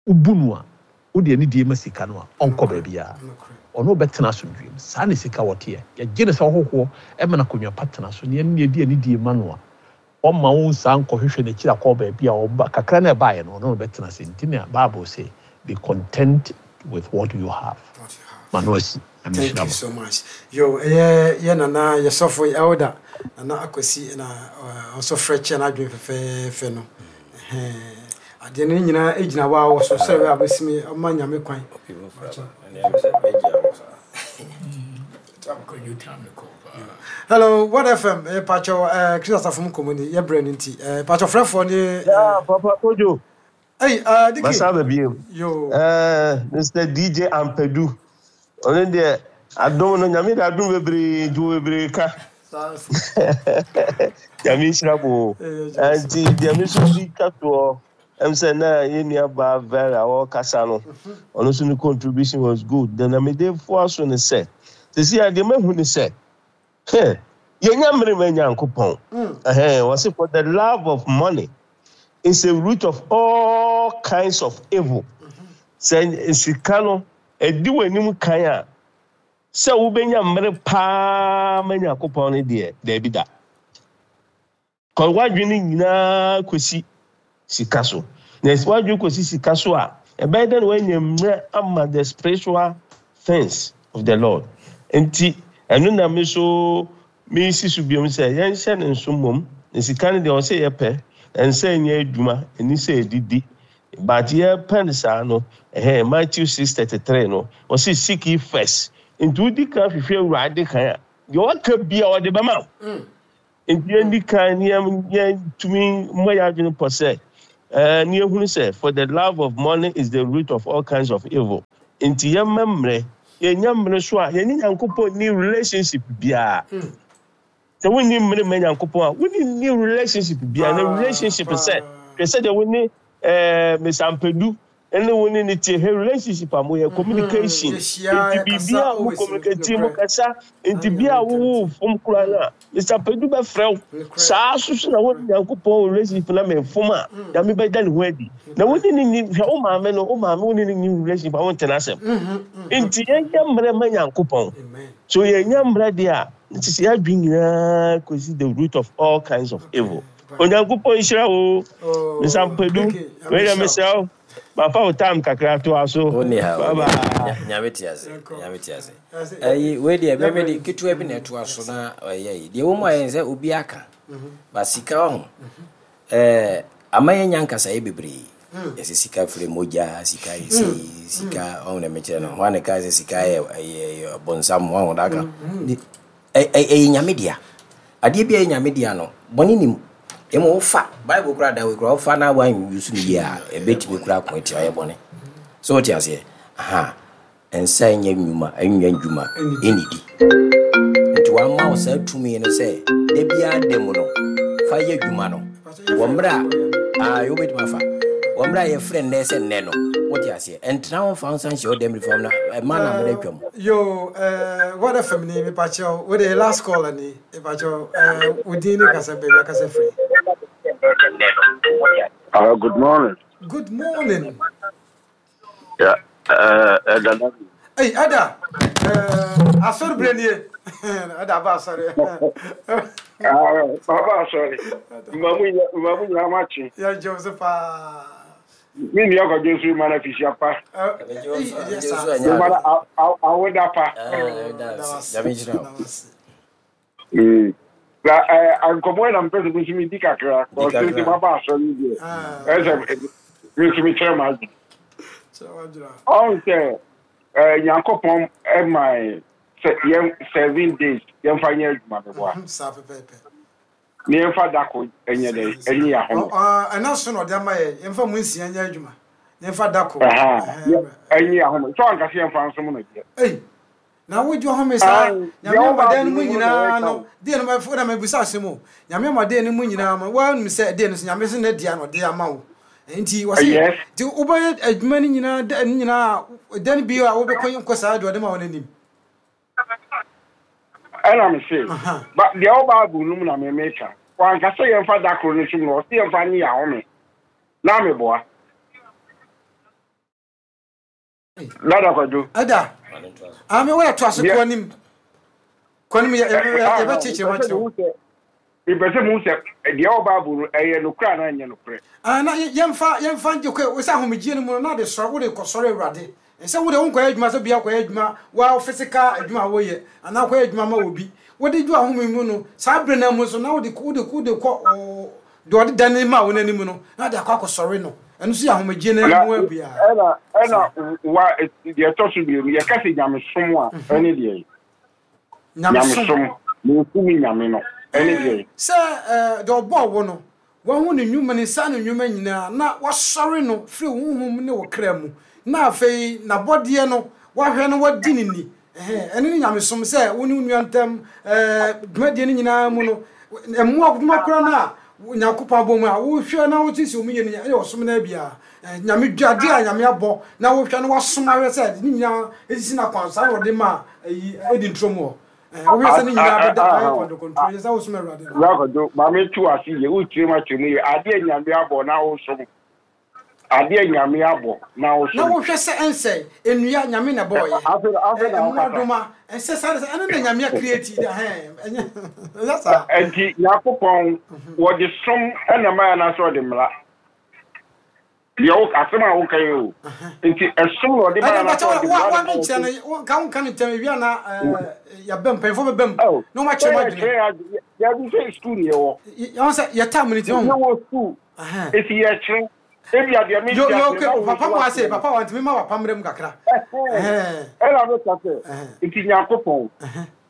Wobu no a wode ani die ma sika no a, ɔnkɔ baabiara. Nokorɛ. Ɔno bɛtena asomdwie mu. Saa ne sika wɔteɛ, yɛgye ne sɛ ɔhohoɔ ɛma no akonnwa pa tena so ne ɛne ne yɛdi ani die ma no a, ɔma wo nsa nkɔhwehwɛ n'akyiri akɔ baabi a ɔba kakra na ɛbaeɛ no, ɔno no bɛtena ase. Nti na Bible say, "Be content with what you have." What you have. Ma no asi. Thank you so much. Yo, ɛyɛ yɛ nana yɛsɔfo elder Nana Akwasi na ɔnso frɛ kyɛ n'adwene fɛfɛɛfɛ no. Ɛhɛn. Adeɛ no nyinaa gyina hɔ a wɔ so sɛ ɛbɛyɛ a wobɛsimi ɔma Nyame kwan. Okay, mo fra ba. Ɛnna ɛmi sɛ bɛgye awɔ saa. Kwadwo time kɔ paa. Hello, What F M, eh, pakyɛw, eh, Chris Asafo mu nkɔmmɔ ni, yɛbrɛ no nti. Eh, pakyɛw frɛfoɔ ne Yeah, Papa Kojo. Hey, uh, Diki. Masa biem. Yo. Eh, Mister D J Ampedu. Ɔno deɛ adom no, Nyame de adom bebree nti wɔ bebree ka. Saa so. Nyame nhyira mo. Eh, Joseph. Nti deɛ me nso bi twa toɔ ɛm sɛ na yɛn nua baa Vera ɔrekasa no, ɔno nso ne contribution was good. Then na mede foa so ne sɛ, sisi a deɛ mahu ne sɛ, heh, yɛnya mmere ma Nyankopɔn. Ɛhɛn, wɔse for the love of money is a root of all kinds of evil. Sɛ sika no ɛdi w'anim kan a, sɛ wobɛnya mmere paa ma Nyankopɔn no deɛ, daabi da. Kɔ w'adwene nyinaa kɔsi sika so. Na sɛ w'adwene kɔsi sika so a, ɛbɛyɛ dɛ na woanya mmerɛ ama the spiritual things of the Lord. Nti ɛno na me so mesi so biom sɛ yɛnhyɛ ne nso mmom. Na sika no deɛ, ɔsɛ yɛpɛ, ɛnsɛ nyɛ adwuma, ɛni sɛ ɛdidi. But yɛpɛ no saa no, ɛhɛn, Matthew six thirty three no, ɔsɛ, "Seek ye first Nti wodi kan hwehwɛ Awurade kan a, deɛ waka bia ɔde bɛma wo. Nti yɛndi kan ne yɛntumi mmɔ yɛn adwene pɔ sɛ ɛɛ ne yɛhunu sɛ for the love of money is the root of all kinds of evil. Nti yɛmma mmerɛ, yɛnya mmerɛ so a yɛne Nyankopɔn ni relationship biara. Sɛ wonni mmere ma Nyankopɔn a, wonni ni relationship biara. Na relationship sɛ, hwɛ sɛdeɛ wo ne ɛɛ Mister Ampadu ne wo ne ne tie, hwɛ relationship a moyɛ, communication. Nti biribiara a mo communicate, mo kasa, nti bi a wowo fom koraa no a, Mister Ampadu bɛfrɛ wo. Saa nso so na wo ne Nyankopɔn wɔ relationship na mefom a, Nyame bɛda ne ho adi. Na wo ne ne ni, hwɛ wo maame no, wo maame wo ne ne ni relationship a wonte n'asɛm. Nti yɛnyɛ mmerɛ ma Nyankopɔn. So yɛnya mmerɛ deɛ a, nti sɛ yɛadwene nyinaa kɔsi the root of all kinds of evil. Onyankopɔn nhyira wo, Mister Ampadu. Wei deɛ mesrɛ wo, mafa wo time kakra toa so. Wonni ha, Bye wonni ha. bye. Nyame te ase, Nyame te ase. Ɛyi, wei deɛ mɛmɛ de ketewa bi na ɛtoa so na ɛyɛ yi. Deɛ wɔn mu ayɛ sɛ obi aka, ba sika ɔho. Ɛɛ, ama yɛn nya nkasaeɛ bebree. Yɛsɛ sika firi mogya, sika yɛ sei, sika ɔho na mekyerɛ no. Hwan na ɛka sɛ sika yɛ ɛyɛ bɔnsam, ɔho da aka. Ɛyɛ Nyame dea. Adeɛ bi a ɛyɛ Nyame dea no, bɔne nim. Emu wofa Bible kura da kura wofa na wan use no yie a, ɛbɛtumi kura ko atia ɔyɛ bɔne. So wote aseɛ? Aha. Nsa nyɛ nnwuma, nyɛ ndwuma, ɛnnidi. Nti wama wo saa tumi no sɛ da biara da mu no, fa yɛ adwuma no. Wɔ mmerɛ a, ah, wobɛtumi afa. Wɔ mmerɛ a yɛfrɛ nnɛ sɛ nnɛ no, wote aseɛ? Ɛntena wo mfa wo nsa nhyɛ wo dɛm fam na ɛma na mmerɛ atwam. Yo, eh, what F M ni, mepakyɛw, wo de last call ni, mepakyɛw, eh, wo din ne kasa baabi akasa firi. Uh, good morning. Good morning. Yeah, uh, Eda. Hey, Eda. Uh, asori brenie. Eda ba asori. Ah, baba asori. Mamu mamu nyina machi. Ya Joseph. Mi ni akwa Jesu mana fisia pa. Mana awoda pa. Mm. La eh ankomo na mpese bi mi di kakra. Ko se baba asori bi. Eh se mi so mi chere ma. On se eh Nyankopɔn e my seven days yɛmfa nyɛ adwuma me boa. Sa pepepe. Ne yɛmfa dako enye de enye ya ho. Ah, ana so no de ama ye yɛmfa mu nsia nyɛ adwuma. Yɛmfa dako. Enye ya ho. So anka se yɛmfa nso no de. Ei. Na wo dwo ho me sa. Nyame amaden mu nyina no. De no ma na me busa asem. Nyame amaden mu nyina ma wa num se de no so nyame se na dia no de ama wo. Nti wase ti obaye adwuma ni nyina da ni nyina dan bi a wo be kɔ nkɔ saa de ma wo nanim. Ana me se ba de o Bible no mu na me meka. Wa nka se yɛmfa dakoro no sum no, ɔse yɛmfa nye ya ho me. Na me boa. Dada kwado. Ada. Ami wo to ase kɔ nim. Kɔ nim ye ye be chichire ma chire. Ipese mu se de o Bible no eye no kra na nye no kra. Ah na yɛmfa yɛmfa nje kɔ wo sa ahomegye no mu no na de sɔre wo de kɔ sɔre Awurade. Nse wo de wo nkɔ adwuma so bia kɔ adwuma wa physical adwuma wo ye ana kɔ adwuma ma obi. Wo de dwo ahome mu no saa bre na mu so na wo de wo de wo de kɔ de ode dane ma wo nanim no na de akɔ akɔsɔre no. Eno so ahomegye na mu abia. Ena ena wa de to so bi ye ka se nyamesom a ene de. Nyamesom mo fu nyame no ene de. Se de obo wo no wahu ne nwuma ne nsa ne nwuma nyina na wasɔre no firi honhom ne wo kra mu na afei na bɔdeɛ no wahwɛ no wadi ne ni eh ene ne nyamesom sɛ wo ne nnuantam eh dwumadie ne nyina mu no emmo adwuma kora na Nyankopɔn abɔ mu a wo hwɛ na wo tisi omu ye ne ɛyɛ ɔsom na bia nyame dwade a nyame abɔ na wo hwɛ no wasom ahwɛ sɛ ne nyina esisi na kwan sa wo de ma ayi edi ntrom hɔ wo hwɛ sɛ ne nyina bɛda ayɛ kɔndo control yɛ sɛ wo som Awurade no Rakodo ma me tu ase ye wo tire ma tire mu ye ade nyame abɔ na wo som ade nyame abɔ na wo som na wo hwɛ sɛ ensɛ enua nyame na boy afe afe na wo doma ensɛ sa sɛ ene na nyame create da he enye enye sa enti Nyankopɔn wo de som ena ma na so de mra de wo asem a wo kan o enti esom no de ma na so de mra wa nkyɛ no ka wo kan ntem wi na ya bem pɛnfo bem no ma kyerɛ ma dwene ya bi sɛ school ne wo ya sɛ ya time ni ti wo school esi ya kyerɛ Ebi adeɛ mi Yo ti yo aseɛ na okay wo papa nso mo wate ase mu. papa wantumi ma papa mmerɛ mu kakra. Ɛhɛn. Ɛhɛn. Ɛna meka sɛ Ɛhɛn. nti Nyankopɔn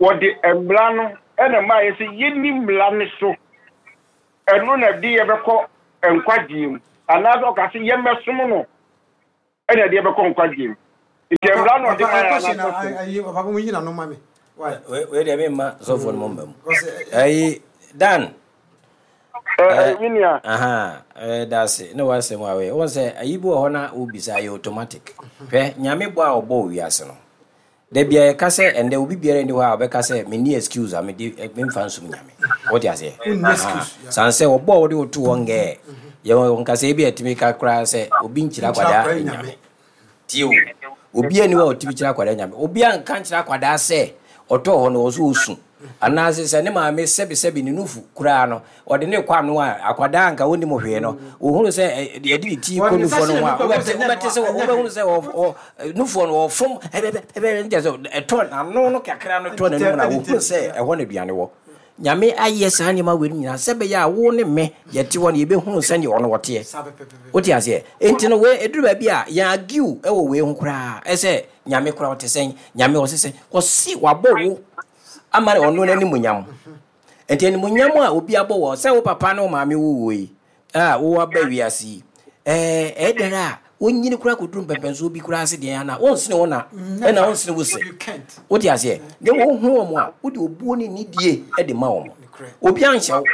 wɔde mmara no ɛna maa yɛ sɛ yɛnni mmara no so ɛno na ɛde yɛbɛkɔ nkwagyeɛ mu anaasɛ ɔka sɛ yɛmmɛsom no ɛna ɛde yɛbɛkɔ nkwagyeɛ mu nti Papa mmara no ɔde papa maa ɛ yɛ question na anaasɛ som ayi papa mo yi na no ma me. Why? Wei wei deɛ memma sɔfoɔ no mɔmma mu. Because eh, Ɛyi Dan. Ɛ- Eh, ɛ, me nua aha, eh, that's it. Ne wasɛm a wei. Wɔn sɛ ayi bi wɔ hɔ na wobisa ɛyɛ automatic. Hwɛ, Nyame bɔ a ɔbɔ wiase no. Da bia yɛka sɛ ɛndɛ obi biara nni hɔ a ɔbɛka sɛ menni excuse a mede eh, memfa nsom Nyame. Wote aseɛ? wonni Aha. excuse. Yeah. San sɛ ɔbɔ a wode woto hɔ ngɛɛ. Yɛwɔ nkasɛɛ bi a ɛtumi ka koraa sɛ obi nkyerɛ Nkyerɛ akwadaa akwadaa Nyame. nyame. Tie o. Obi ani hɔ a ɔtumi kyerɛ akwadaa Nyame. Obi anka nkyerɛ akwadaa sɛ ɔtɔɔ hɔ no wɔ so ɔsu. Anaasɛ sɛ ne maame sɛbesɛbe ne nufu koraa no ɔde ne kɔ ano a akwadaa anka wɔnnim hwee no wɔhunu sɛ ɛ, yɛde ne ti Wɔde kɔ ne nsa nufoɔ no hyɛ ho ne a nufu a wobɛte wobɛhu sɛ ɛnyɛ wobɛte no sɛ ɛnyɛ wobɛhunu hwee. sɛ ɔ- ɔ- nufoɔ no wɔfom ɛbɛbɛ ɛbɛbɛ nkyɛ sɛ ɛtɔ n'ano no kakra no tɔ Ɛde n'anim tɛm na ɛde wɔhunu tɛm. sɛ Yeah. ɛhɔ na aduane wɔ. Nyame ayɛ saa nneɛma wei no nyinaa sɛ bɛyɛ a wo ne me yɛte hɔ no yɛbɛhunu sɛdeɛ ɔno wɔteɛ. Saa pɛpɛpɛpɛ. Wote aseɛ? Enti no wei ɛduru baabi a yɛn argue ɛwɔ wei ho koraa ɛsɛ Nyame koraa ɔte sɛn, Nyame ɔse sɛn, ɔse wabɔ wo ama ne ɔno n'animuonyam. Enti animuonyam a obi abɔ wɔ sɛ wo papa ne wo maame wo wɔ yi a wowɔ aba wiase yi ɛɛ ɛyɛ dɛn a wonyini koraa kɔduru mpɛmpɛnsoɔ bi koraa ase deɛ ana wonsene wo na ɛna Never. wonsene wo se. You can't. Wote aseɛ? Ne wohu wɔn a wode obuo ne nidie de ma wɔn. Nokorɛ. Obi anhyɛ wo.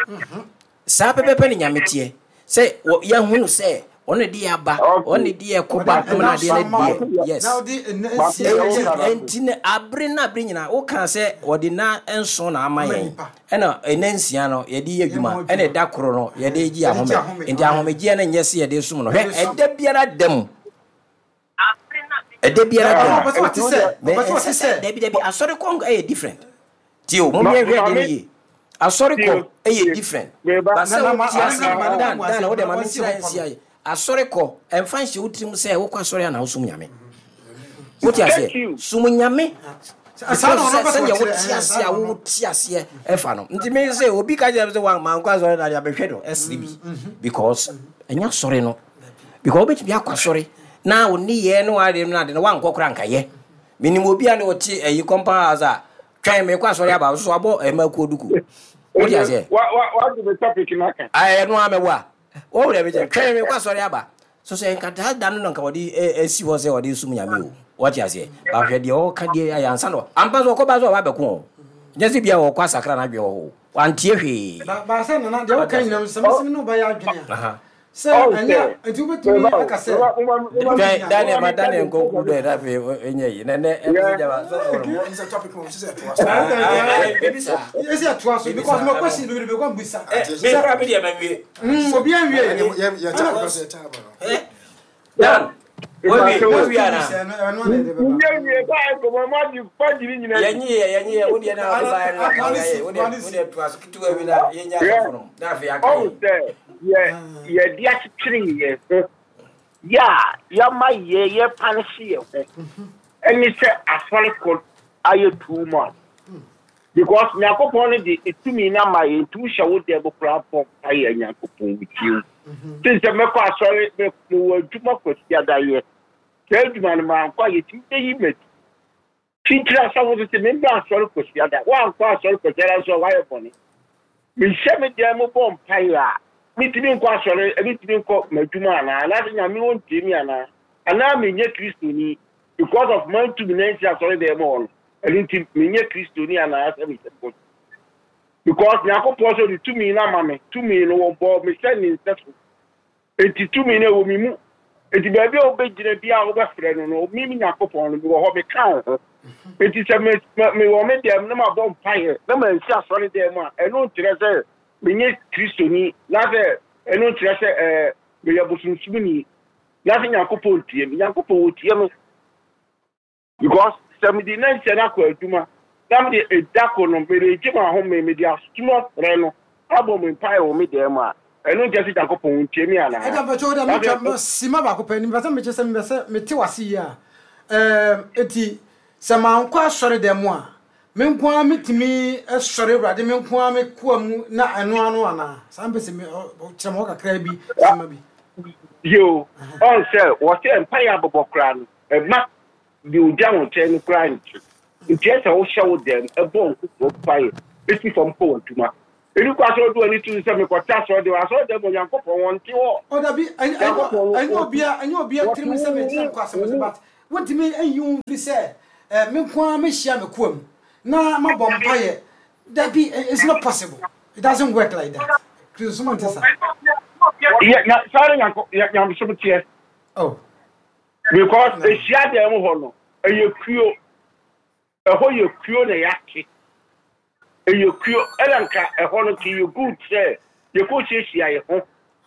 Saa pɛpɛpɛ ne Nyame teɛ sɛ wɔ- yɛhunu sɛ ɔno de yɛ aba, ɔno okay de yɛ Ɔde kɔba ɛna na adeɛ nso no ama deɛ wo. yes. Na ɔde ɛna mate nsia deɛ agye woka no nkwa. ase Enti ne abere na abere nyinaa woka sɛ wɔde na nson na ama Ama yɛn nipa. ɛna ɛna nsia no yɛde yɛ Yɛ adwuma ho ɛna adwuma. ɛda koro no yɛde gye Yɛde gye ahome ahome. nti Aye. ahomegyeɛ no nyɛ sɛ yɛde som no hwɛ Yɛde som. ɛda biara da mu ɛda biara da Ɔno mu ɔpɛ sɛ ɔte nti wo sɛ deɛ mɛ ɔpɛ sɛ ɔte ɛnsɛ sɛ sɛ dabi dabi asɔre kɔ ɛyɛ different tie o ma mommyɛhwɛ adeɛ no maame yie asɔre tie kɔ ɛyɛ tie different meba ba na sɛ na ma wote ma ase ne ma ne dan mu dan ase na wode ma ma wɔnsi menkyerɛ hɔ pɔ nsi no. ayɛ asɔre kɔ ɛmfa nhyɛ wo tirim sɛ wokɔ asɔre a na wosom Nyame. Wote thank aseɛ you som Nyame Saa because na ɔno sɛ pɛ sɛ sɛdeɛ ɔkyerɛ wote ɛhɛn aseɛ saa a na ɔno. wote aseɛ ɛfa no nti me sɛ obi ka kyerɛ me sɛ wa mankɔ asɔre na deɛ abɛhwɛ no ɛsere bi because ɛnyɛ asɔre no because wobɛtumi akɔ asɔre na wo nneyɛɛ ne wade no ade no woankɔ kora nkayɛ. Menim obi a ne ɔte ayi compound house a twɛn mekɔ asɔre aba so so wabɔ ɛma kuo duku. Wote ɛnɛ aseɛ? wa wa wagye me topic no aka Ayɛ no a mɛwo a wɔwo dɛ mekyɛ twɛn mekɔ asɔre aba so sɛ nka daa da no na nka wɔde ɛ- asi hɔ sɛ wɔde som Nyame o. Wɔte aseɛ? Bahwɛ deɛ ɔka deɛ ayɛ ansa no ampa so ɔkɔba so ɔba bɛko o nyɛ sɛ bia wɔkɔ asakra no adwene wɔ hɔ o wantie hwee. Ba ba sɛ nana deɛ Wɔte woka aseɛ? nyinaa sɛ mesɛm ne wobɛyɛ adwene a Aha. sɛ ɔn ɛnyɛ sɛ nti wobɛtumi meba o aka sɛ meba moma moma wobɛtumi Twɛn anya Daniel moma ma menka Daniel deɛ nkɔnkuru mepɛ dɛ na afei ɛnyɛ yi na nɛ ɛmɛ sɛ sɛ gyama sɔfoɔ no Ɛmu sɛ topic no sɛ ɛtoa so. Ah, ah, ah, biribi saa ɛsɛ ɛtoa so biribi because saa my ɛmɔ question bebree kɔ mbisa ɛ Ati me sɛ kora me deɛ manwie mm, obi anwie ɛne yɛ yɛ ɛna time because yɛ time no. ɛ Dan wawie mepatɛ o next wawie two anaa weeks ɛno ɛno ana ɛde bɛba nyɛ wie saa nkɔmmɔ magye magye ne nyinaa di yɛnyi yɛ yɛnyi yɛ wodeɛ na wode baeɛ no na ano nka si woyɛ wodeɛ ano si wodeɛ toa so ketewa bi na yɛnya hwɛ asɔfo no na afei aka ɔhu yɛn sɛ yɛ yɛde akyekyere yɛn ho yɛ a yɛama yɛ yɛpanehye yɛn ho ɛne sɛ asɔre kɔ ayɛ too much because Nyankopɔn no de etumi no ama yɛn nti wohyɛ wo dɛm koraa bɔ mpaeɛ Nyankopɔn wotie wo sen sɛ mɛkɔ asɔre me- mewɔ adwuma kwasiadayɛ saa adwuma no mankɔ a yɛtumi bɛyi m'adi titiri asɔfo so sɛ membɛ asɔre kwasiada woankɔ asɔre kwasiada nso a woayɛ bɔne mehyɛ me dan mu bɔ mpaeɛ a metumi nkɔ asɔre metumi nkɔ m'adwuma anaa anaasɛ Nyame wɔntie me anaa anaa menyɛ kristoni because of mantumi nansi asɔre dan mu hɔ no ɛno nti menyɛ kristoni anaa sɛ mehyɛ bɔ because Nyankopɔn sɛ ɔde tumi no ama me tumi no wɔbɔ me sɛ ne nsa so enti tumi no ɛwɔ me mu enti baabi a wobɛgyina bi a wobɛfrɛ no no me me Nyankopɔn no mewɔ hɔ meka wo ho enti sɛ me- me- mewɔ me dɛm na mabɔ mpaeɛ na mansi asɔre dan mu a ɛno nkyerɛ sɛ menyɛ kristoni na sɛ ɛno nkyerɛ sɛ ɛɛ meyɛ bosomsomni na sɛ Nyankopɔn tie me Nyankopɔn wɔtie me because sɛ mede nansia no akɔ adwuma na mede ɛda ko no mede gye m'ahome mede asom afrɛ no abɔ me mpaeɛ wɔ me dan mu a ɛno nkyerɛ sɛ Nyankopɔn ntie me anaa ɛda mpɛkyɛ wo dɛ na metwa sɛ sima baako pɛ mepɛ sɛ mekyɛ sɛ mepɛ sɛ mete wase yie a ɛɛm, enti sɛ mankɔ asɔre dɛm mu a me nko ara metumi sɔre Awurade me nko ara me koa mu na ɛno ano anaa saa mpɛ sɛ me- ɔ- ɔ- kyerɛ me hɔ kakra bi sima bi. Yo, ɔn sɛ wɔsɛ mpaeɛ abobɔ koraa no, ɛma deɛ ogya wo nkyɛn no koraa nkye. Nti ɛsɛ wohyɛ wo dɛm, ɛbɔ nkokoɔ mpaeɛ, ɛsi fam kɔ w'adwuma. Ɛni kwa sɛ wode w'ani to so sɛ mekɔte asɔre asɔre dɛm, Onyankopɔn wɔnte hɔ. Oh, dabi, ɛnyɛ obia ɛnyɛ obia tirim sɛ megyina mekɔ asɛm so, but wontumi nyi wo mfiri sɛ eh, me nko ara mehyia me koa mu na mabɔ mpayɛ. Dabi, it's not possible, it doesn't work like that. Kristosom nte saa. Yɛ- na saa ne Nyanko- yɛ- nyamesom teɛ. Oh. Because ehyia dɛm hɔ no, ɛyɛ kuo, ɛhɔ yɛ kuo na yɛate, ɛyɛ kuo, ɛna nka ɛhɔ no nka yɛ good sɛ yɛkɔ hyiahyia yɛ ho.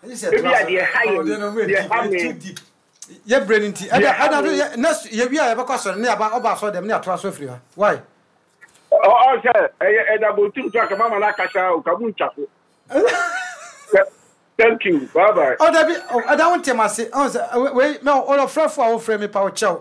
Ebi a deɛ ha yɛ, deɛ ha me. Yɛ brɛ no nti ɛda Deɛ ha ɛda me. Yɛ next yɛwie a, yɛbɛkɔ asɔre ne yɛaba ɔba asɔre dɛm ne yɛatoa so afiri ha. Why? Ɔ ɔ sɛ ɛyɛ ɛda bɔntum so aka mama no akasa o, ka mu ntwa so. Thank you, bye bye. Oh, dabi, oh, ɛda wo ntɛm ase. Ɔn sɛ wei mɛ ɔlɔfrɛfo a wofrɛ mi pa wo kyɛw,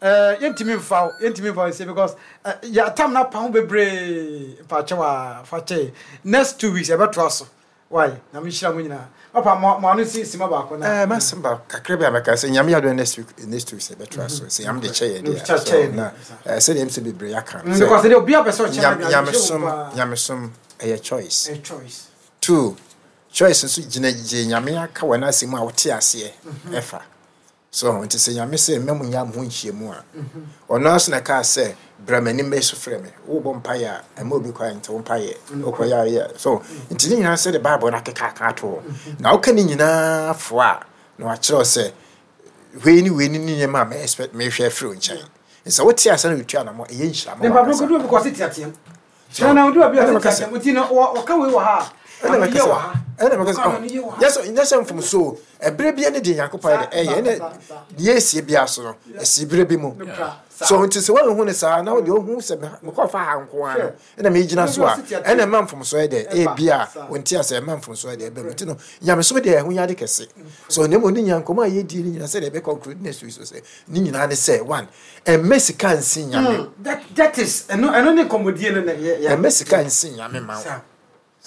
ɛɛ yɛntumi nfa wo, yɛntumi nfa wo nse because ɛ yɛ atam na pa ho bebree mpa kyɛw a fa kyɛ. Next two weeks yɛbɛtoa so. Why? Na mi hyira mo nyinaa. Papa, mo mo ano si sima baako na. ɛɛ masɛm ba kakra bi a mɛka sɛ Nyame yɛ adom, next week, next two weeks yɛbɛtoa so sɛ Nyame de kyɛ yɛ deɛ. Kyɛ So yɛ na deɛ. ɛɛ sɛdeɛ ɛm sɛ bebree aka no Mm, because deɛ obi apɛ sɛ ɔkyɛ Nyam- na deɛ nyamesom nyamesom ɛyɛ choice. A choice. Two choice nso gyina gye Nyame aka wɔ n'asɛm mu a wote aseɛ ɛfa so. Nti sɛ Nyame sɛ mma mu nya mo ho nhyiamu a, ɔno ara so na kaa sɛ bra m'anim bɛyɛ so frɛ me, wobɔ mpaeɛ a, ɛma obi kwan nti wo mpaeɛ wokɔyɛ a yɛ so. Nti ne nyinaa sɛ de Bible no akeka aka ato hɔ na woka ne nyinaa foa a, na wakyerɛw sɛ wei ne wei ne ne nneɛma a me expect mehwɛ afiri wo nkyɛn. Sɛ wote ase na wotu anamɔ, ɛyɛ nhyira ma Ne papa wankasa. kodu bi kɔ se teateam kyerɛ na odu bi Ɛna ɔse mɛka sɛ- teateam nti no wɔ wɔka wei wɔ ha a, ɛna ano mɛka yɛ sɛ wɔ ha. Ɛna mɛka sɛ Ɔka ano yɛ wɔ ha. nyɛ sɛ nyɛ sɛ mfomso ɛberɛ bia ne deɛ Nyankopɔn yɛ de ɛyɛ ɛne Saa, saa, deɛ ɛsie bia so no, ɛsi berɛ bi mu. Nokra, saa. So nti sɛ woanhu ne saa na wode wohu sɛ mekɔfa ha nko ara no ɛna megyina so a, ɛna ɛma mfomso yɛ dɛ ɛbi a wonte asɛ ɛma mfomso yɛ dɛ ɛbɛ mu. Nti no nyamesom deɛ, ɛho yɛ ade kɛse so. Na mmom ne nya nkɔmmɔ a yɛdi ne nyinaa sɛdeɛ ɛbɛ conclude next week so sɛ ne nyinaa ne sɛ, one, ɛmmɛ sika nsi Nyame. Mm, that that is ɛno ɛno ne nkɔmmɔdie no na yɛ yɛ Ɛmmɛ sika nsi Nyame ma wo. Saa.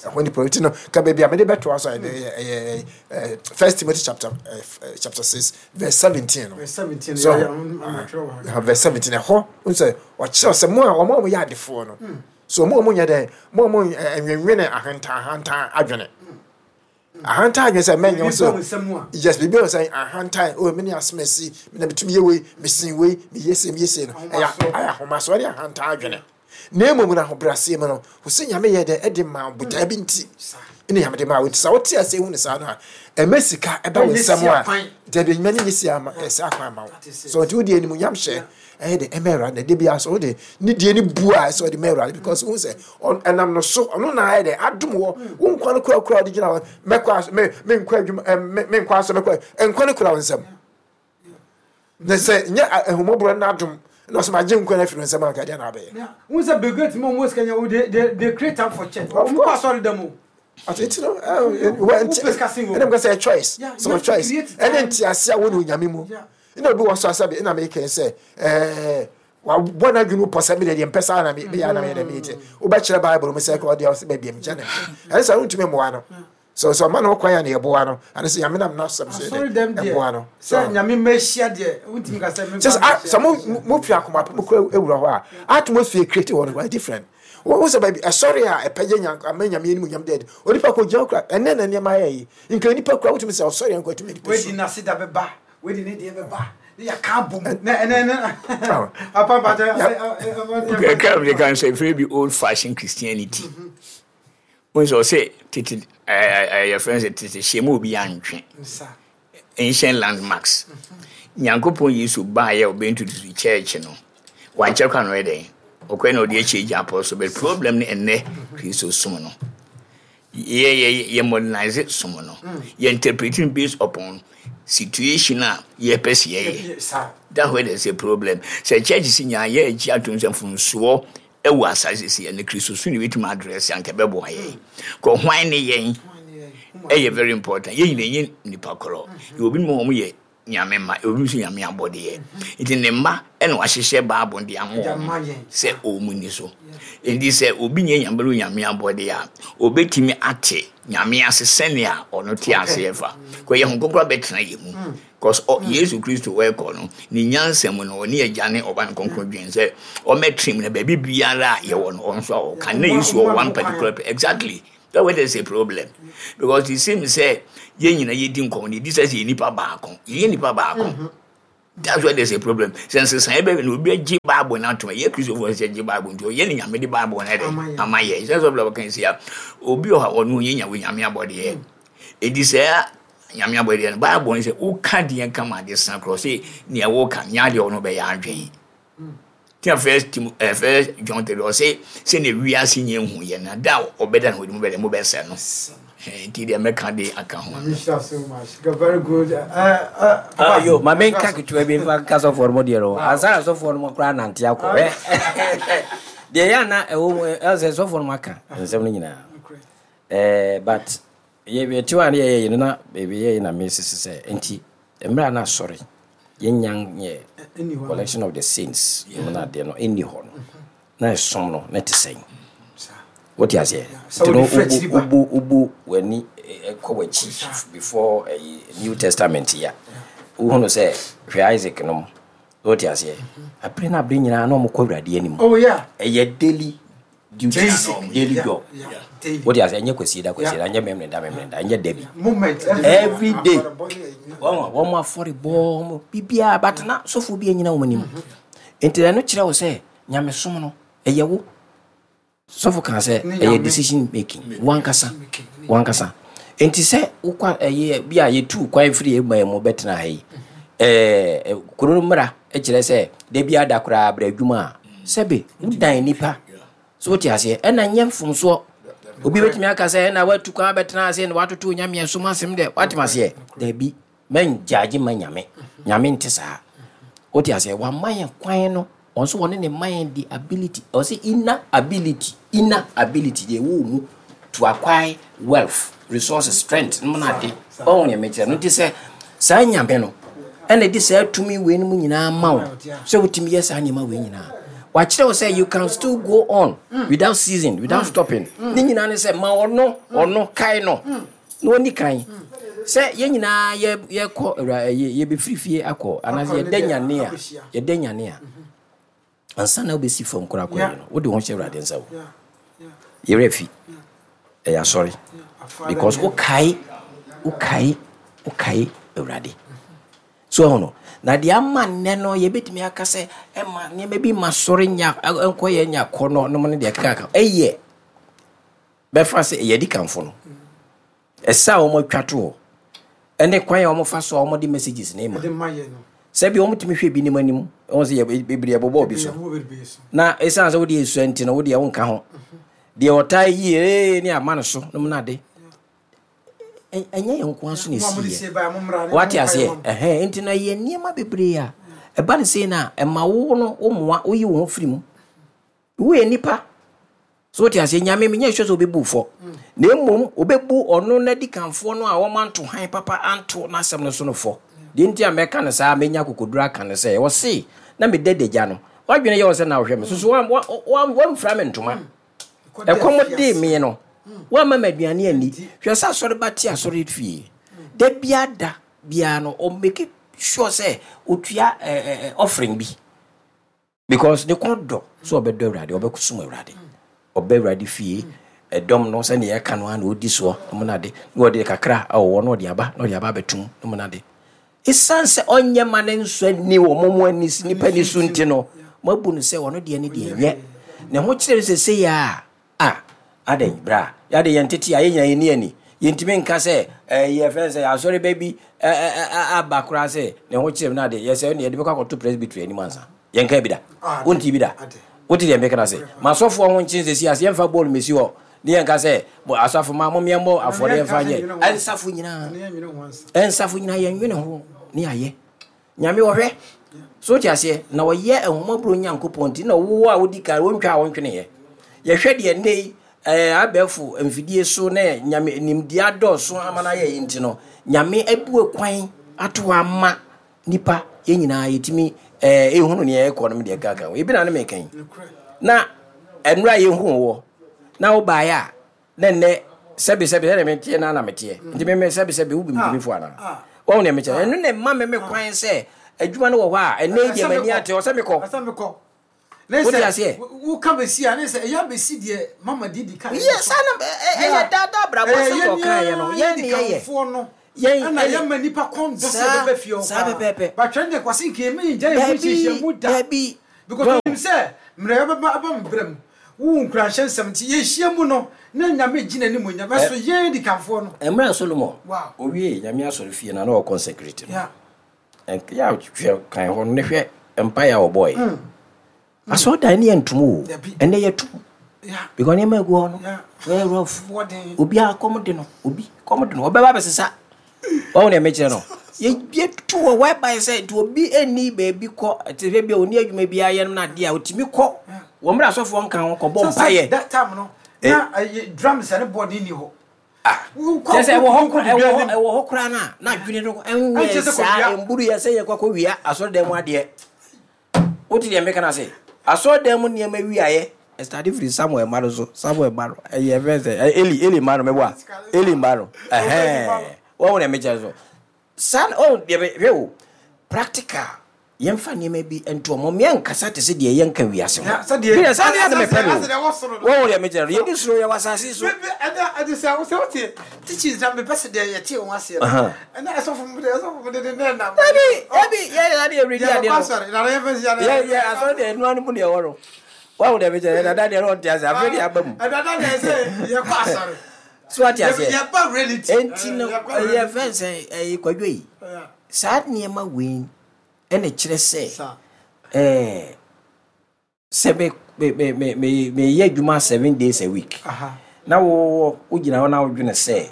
Ɛhɔ nipa nti no ka baabi a mede bɛtoa so a, ɛyɛ ɛyɛ ɛyɛ First Timothy chapter ɛɛ chapter six verse seventeen no. Verse seventeen. So yɛ yɛ amatwerɛ wɔ ha. uh, verse seventeen ɛhɔ n sɛ ɔkyerɛw sɛ mo a wɔn a wɔyɛ adefoɔ no so, mo a mo nyɛ dɛn, mo a mo nwenwene ahantan ahantan adwene, ahantan adwene sɛ mɛnyɛ wo Biribi ba wo sɛ nsam a. Yes, biribi wɔ sɛ ahantan o, me ne asɛm asi me na metumi yɛ wei, mesin wei, meyɛ se, meyɛ se no, ɛyɛ Ahomasoɔ. Ɛyɛ ahomasoɔ ne ahantan adwene. Na mmom no ahobrɛaseɛ mu no, wo sɛ Nyame yɛ dɛ ɛde ma wo botaa bi nti ɛne Nyame de ma wo. Nti sɛ wote ase hu ne saa no a, ɛmɛ sika ɛba wo Ɛnyɛ nsɛm si a akwan. dabi, enyima ne nyɛ si ama ɛsɛ akwan ama wo. That is it. So nti wode animuonyam hyɛ ɛyɛ de ɛmɛ Awurade na de bia so wode ne deɛ ne bu a ɛsɛ ɔde ma Awurade, because wohu sɛ ɔn- ɛnam no so ɔno na ayɛ dɛ adom wɔ wo nkwa no kurakura wode gyina hɔ. Mɛkɔ aso me menkɔ adwuma ɛ, me menkɔ aso mɛkɔ nkwa no kura wo nsɛm na sɛ nyɛ ahumɔborɔ no adom na ɔsɛ magye nkwa no afiri wo nsɛm anka deɛ na abɛyɛ. Yeah. Wọn sɛ Bill Gates mu ɔmo sika nya wo, they they they create time for church. Of Ɔmo kɔ course. asɔre dɛm o. Ati nti no ɛ, wɔ nti Wopɛ sika sen wɔ. ɛna meka sɛ choice. Yeah, sɛ you wɔ have to choice create ɛne time. nte ase a wo ne Onyame mu. Yeah. Ɛna obi wɔ so asɛ bi ɛna meka sɛ ɛɛ wabɔ n'adwene mu pɔ sɛ mede deɛ mpɛ saa na me- meyɛ na meyɛ dɛ meyɛ. Wobɛkyerɛ Bible mu sɛ kɔ ɔdeɛ ɔsɛ baabi a megya ne mpɛ ɛne sɛ wontumi mmoa no so sɛ ɔma no kwan a ne yɛboa no ane sɛ Nyame nam n'asɛm so yɛ Asɔre dɛ dɛm deɛ ɛboa no. sɛ Nyame mma ahyia deɛ, wontumi ka sɛ kyɛ sɛ ah, sɛ mo mo fi akoma pɛ mo kura ewura hɔ a, atmosphere create wɔ no was different. Wo sɛ baabi ɛsɔre a ɛpɛgye nya ama Nyame anim nyam deɛ, onipa kɔ gyina kura ɛnɛ na nneɛma ayɛ yi nka nipa kura wotumi sɛ ɔsɔre nkɔ atumi nipa wedi su. N'ase da bɛba, wedi ne deɛ bɛba ne yɛka abom na ɛnɛ ɛnɛ papa mpakyɛ. Kra mi de kan sɛ efiri bi old fashion Christianity wọn sɛ ɔsɛ tete ɛɛ ɛɛ yɛfrɛ sɛ tete hyɛn mu obi antwe nsa ancient landmarks. Nyankopɔn Yesu baayɛ ɔbɛ introduce church no, wankyɛ kwan no yɛ dɛn ɔkɔɛ na ɔde akyi agya apɔ so. But problem ne ɛnɛ Kristo som no, yɛ yɛ yɛ modernize som no, yɛ interpreting based upon situation a yɛpɛ sɛ yɛyɛ. Saa. That where there's a problem sɛ church si nyaa yɛ akyi atom sɛ mfomsoɔ ɛwɔ asase si ɛne Kristo so ne bɛtumi address anka ɛbɛboa yɛn kɔ hwan ne yɛn. Ɛyɛ very important. Yɛn nyina nyɛ nipa korɔ. Yɛ obi mu wɔn yɛ Nyame mma, obi nso Nyame abɔdeɛ. Nti ne mma ɛna wahyehyɛ Bible de ama wɔn sɛ wɔn ni so. Nti sɛ obi nyɛ Nyame no Nyame abɔdeɛ a, obetumi ate Nyame ase sɛnea ɔno te aseɛ fa. Kɔ yɛ ho kronkron bɛtena yɛ mu. Because Yesu Kristo wɔrekɔ no, ne nyansa mu no, ɔne Agya ne Ɔba no kronkron dwen sɛ ɔmɛtena mu na baabi biara a yɛwɔ no, ɔno nso a ɔka. Na Yesu wɔ one particular exactly. That way there's a problem. Because it seems sɛ yɛn nyinaa yɛdi nkɔmmɔ no, yɛdi sɛ sɛ yɛ nipa baako. Yɛyɛ nipa baako. Mm-hmm. That's why there's a problem. Sɛ nsesaeɛ bɛbɛ na obi agye Bible no atom, ɛyɛ Kristofoɔ sɛ gye Bible nti ɔyɛ ne Nyame de Bible no ɛdɛ ama yɛ. Sɛ sɛ ɔbɛka si a, obi wɔ hɔ a ɔno ɔnyɛ Nyame Nyame abɔdeɛ. Enti sɛ Nyame abɔdeɛ no, Bible no sɛ woka deɛ nka ma ade sa korɔ sɛ nea woka nyɛ adeɛ ɔno bɛyɛ adwene. Tia first Tim eh, first John three ɔsɛ sɛ na wiase nyɛ hu yɛ na da ɔbɛda no ɔde mu bɛdɛ mo bɛsɛ no. Nti deɛ mɛka de aka ho. Nyame so much. Very good. Uh, uh, uh, yo, ma menka ketewa bi mfa nka sɔfoɔ no mu deɛ no. Ansa na sɔfoɔ no mu koraa nante akɔ. Deɛ yɛ ana ɛwɔ mu ɛsɛ sɔfoɔ no mu aka nsɛm no nyinaa. Eh, but yɛ yɛte a ne yɛyɛ yi no na baabi yɛyɛ na mesese sɛ nti mmerɛ a na asɔre yɛnya nyɛ collection of the saints mu no adeɛ no ɛnni hɔ no na ɛsom no na ɛte sɛn wote aseɛ nti no wobu wobu w'ani kɔ w'akyi before ɛyi New Testament yi a wohunu sɛ hwɛ Isaac nom wote aseɛ abere no abere nyinaa na ɔmokɔ Awurade anim ɛyɛ daily duty daily job wote aseɛ ɛnyɛ kwasie da kwasie da ɛnyɛ memene da memene da ɛnyɛ da bi every day wɔn wɔn afɔrebɔ wɔn biribiara batena sɔfo bi anyina wɔn anim nti ɛno kyerɛ wo sɛ nyamesom no ɛyɛ wo sɔfo kan sɛ ɛyɛ decision making wankasa wankasa nti sɛ wokɔ ɛyɛ bi a yɛtu kwan firi ɛman mu bɛtena ha yi ɛɛ kuro no mmara kyerɛ sɛ da bi ada koraa brɛ adwuma a sɛbe wodan nipa so wote aseɛ ɛna nyɛ mfomsoɔ obi bɛtumi aka sɛ ɛna watu kwan bɛtena ase na watoto nyame som asɛm dɛ watem aseɛ daabi mɛngyagye ma nyame nyame nte saa wote aseɛ wama yɛn kwan no ɔno nso wɔne ne ma yɛn the ability ɔsɛ inner ability inner ability deɛ ɛwɔ mu to acquire wealth resources strength no na ade ɔho yɛ mekyerɛ no nti sɛ saa nyame no ɛna ɛde saa tumi wei no mu nyinaa ma wo sɛ wotumi yɛ saa nneɛma wei nyinaa wakyerɛ wo sɛ you can still go on without ceasing without stopping ne nyinaa ne sɛ ma ɔno ɔno kae no na ɔni kan sɛ yɛn nyinaa yɛ yɛkɔ awura yɛ yɛbɛfiri fie akɔ anaasɛ yɛda nyane a yɛda nyane a ansa na wobɛsi fam koraa kɔ yi no wode wo ho hyɛ Awurade nsa wo yɛwerɛ fi ɛyɛ asɔre because wokae wokae wokae Awurade so ɛho no na deɛ ama nnɛ no yɛbɛtumi aka sɛ ɛma nneɛma bi ma sɔre nya nkɔ yɛ nya kɔ no nom no deɛ keka ɛyɛ bɛfa sɛ ɛyɛ adikanfo no ɛsɛ a wɔn atwa to hɔ ɛne kwan a wɔn fa so a wɔn de messages ne ma sɛbi wɔn tumi hwɛ bi nim anim wɔn sɛ yɛ bebree ɛbobɔ obi so na esan sɛ wɔde esua nti no wɔde ɛwɔ nka ho deɛ ɔtaa yie ee ne ama no so nom na ade ɛnyɛ yɛn nko aso na esi yɛ wate aseɛ ɛhɛn nti na yɛ nneɛma bebree a ɛba ne sei na ɛma wo no wo mmoa woyi wo ho firi mu woyɛ nipa so wote aseɛ nyame menyɛ sure sɛ wobɛbu fɔ na mmom wobɛbu ɔno n'adikanfoɔ no a wɔma han papa anto n'asɛm no so no fɔ deɛ nti a mɛka no saa mɛnya akokoduro aka no sɛ ɔse na meda dagya no wadwene yɛ wɔ sɛ na wohwɛ me so so wamfira me ntoma ɛkɔm dee me no woama me aduane ani hwɛ sɛ asɔre ba te asɔre fie da biara da biara no ɔmake sure sɛ ɔtua offering bi because ne kɔn dɔ sɛ ɔbɛdɔ Awurade ɔbɛsom Awurade ɔbɛ Awurade fie ɛdɔm no sɛnea ɛka no a na ɔdi soɔ nom no ade na ɔde kakra a ɔwɔ na ɔde aba na ɔde aba abɛtum nom no ade ɛsiane sɛ ɔnyɛ ma ne nsɔ ani wɔ mo mo ani nipa ni so nti no moabu no sɛ ɔno deɛ ne deɛ nyɛ ne ho kyerɛ no sɛ sɛ yɛ a a adɛn bra yɛade yɛn tete a yɛnyina yɛni ani yɛntumi nka sɛ ɛyɛ fɛn sɛ asɔre ba bi aba koraa sɛ ne ho kyerɛ no ade yɛsɛ ne yɛde bɛkɔ akɔto presbytery anim ansa yɛnka bi da wonti bi da wote deɛ meka no ase masɔfoɔ ho nkyen sɛsi ase yɛmfa bɔɔl mɛsi hɔ ne yɛnka sɛ asafo ma momeɛmmɔ afɔre yɛmfa nyɛ ɛnsafo nyinaa ɛnsafo nyinaa yɛnwene ho ne ayɛ nyame wɔhwɛ so wote aseɛ na ɔyɛ ahomɔborɔ nyankopɔn nti na wowɔ a wodi kan wɔntwa a wɔntweneɛ yɛhwɛ deɛ nnɛ yi abɛɛfo mfidie so ne nyame nimdeɛ adɔɔso ama no ayɛ yi nti no nyame abue kwan ato hɔ ama nipa yɛn nyinaa yɛtumi ɛɛ ehunu nea ɛkɔ no deɛ kaka ho ebi na ne meka yi na nnura yɛhu wɔ na wobaeɛ a na nnɛ sɛbi sɛbi sɛdeɛ meteɛ na na meteɛ nti meme sɛbi sɛbi wo bimdimi fo anaa wɔn nea mekyɛ ɛno na ɛma me me kwan sɛ adwuma no wɔ hɔ a ɛnɛ yi deɛ m'ani ate ɔsɛ mekɔ Wote aseɛ? Woka bɛsi a ne sɛ ɛyɛ abɛsi deɛ mama didi ka. Yɛ saa na ɛyɛ daadaa brabɔ sɛ wɔka yɛ no yɛn ne yɛyɛ no. Yɛn ɛna yɛn ma nipa kɔn dɔ sɛ ɛbɛbɛ fie hɔ saa pɛpɛɛpɛ. Batwɛn deɛ kwasi nka yɛn mi ngya yɛn ho nhyehyɛ mu da. Dabi. Because onim sɛ mmerɛ yɛbɛba aba mbrɛ mu wo nkuranhyɛ nsɛm nti yɛhyia mu no na Nyame gye n'animuonyam ɛso yɛn adikanfoɔ no. Mmerɛ Solomon owie Nyame asɔre fie no a na ɔkɔ consecrate no. Yɛ hwɛ kan hɔ no ne hwɛ mpaeɛ a ɔbɔeɛ. Asɔredan no yɛ ntom o. Ɛnɛ yɛtom. Because nneɛma egu hɔ no, ɛyɛ rough. Obiara kɔm de no, obi kɔm de no, ɔbɛba abɛsesa. Wɔn deɛ mekyerɛ no. Yɛtu hɔ whereby sɛ nti obi nni baabi kɔ, te sɛ bi a ɔni adwuma bi ayɛ no na adeɛ a ɔtumi kɔ. Wɔn mmerɛ asɔfoɔ nka ho kɔbɔ mpaeɛ. That time no, na drums ne board nni hɔ. Ah, kyerɛ sɛ ɛwɔ hɔ koraa ɛwɔ hɔ ɛwɔ hɔ koraa na na adwene no ɛnyɛ saa mburu yɛ sɛ yɛkɔ akɔ wia asɔredan mu adeɛ. Wote deɛ meka no ase? Asɔredan mu nneɛma wiaeɛ ɛstade firi Samuel mma no so. Samuel mma no ɛyɛ fɛn sɛ Eli Eli mma no mɛbɔ a Eli mma no ɛhɛn wɔn deɛ mekyerɛ so saa wɔn deɛ hwɛ o practical yɛmfa nneɛma bi nto ɔmo mmea nkasa te sɛ deɛ yɛnka wiase ho bi na saa deɛ na mepɛ no wɔn deɛ mekyerɛ no yɛdi soro yɛwɔ asase so. Ɛnna ɛde sɛ wosɛ wote teachings na mepɛ sɛ deɛ yɛte wɔn aseɛ no ɛnna ɛsɔfo mu deɛ ɛsɔfo mu de de ne nam. Dabi dabi yɛ yɛ deɛ redi adeɛ no yɛ yɛ asɔre deɛ ɛnua no mu deɛ ɛwɔ no wɔn deɛ mekyerɛ yɛ dada deɛ ɔnte ase afei deɛ aba mu. Ɛdada deɛ sɛ yɛkɔ asɔre. So ate aseɛ yɛba reality. Enti no ɛyɛ fɛn sɛ ɛyɛ kwadwo yi saa nneɛma wei ɛna kyerɛ sɛ ɛɛ sɛ me me me me meyɛ adwuma seven days a week na wo wogyina hɔ na wodwene sɛ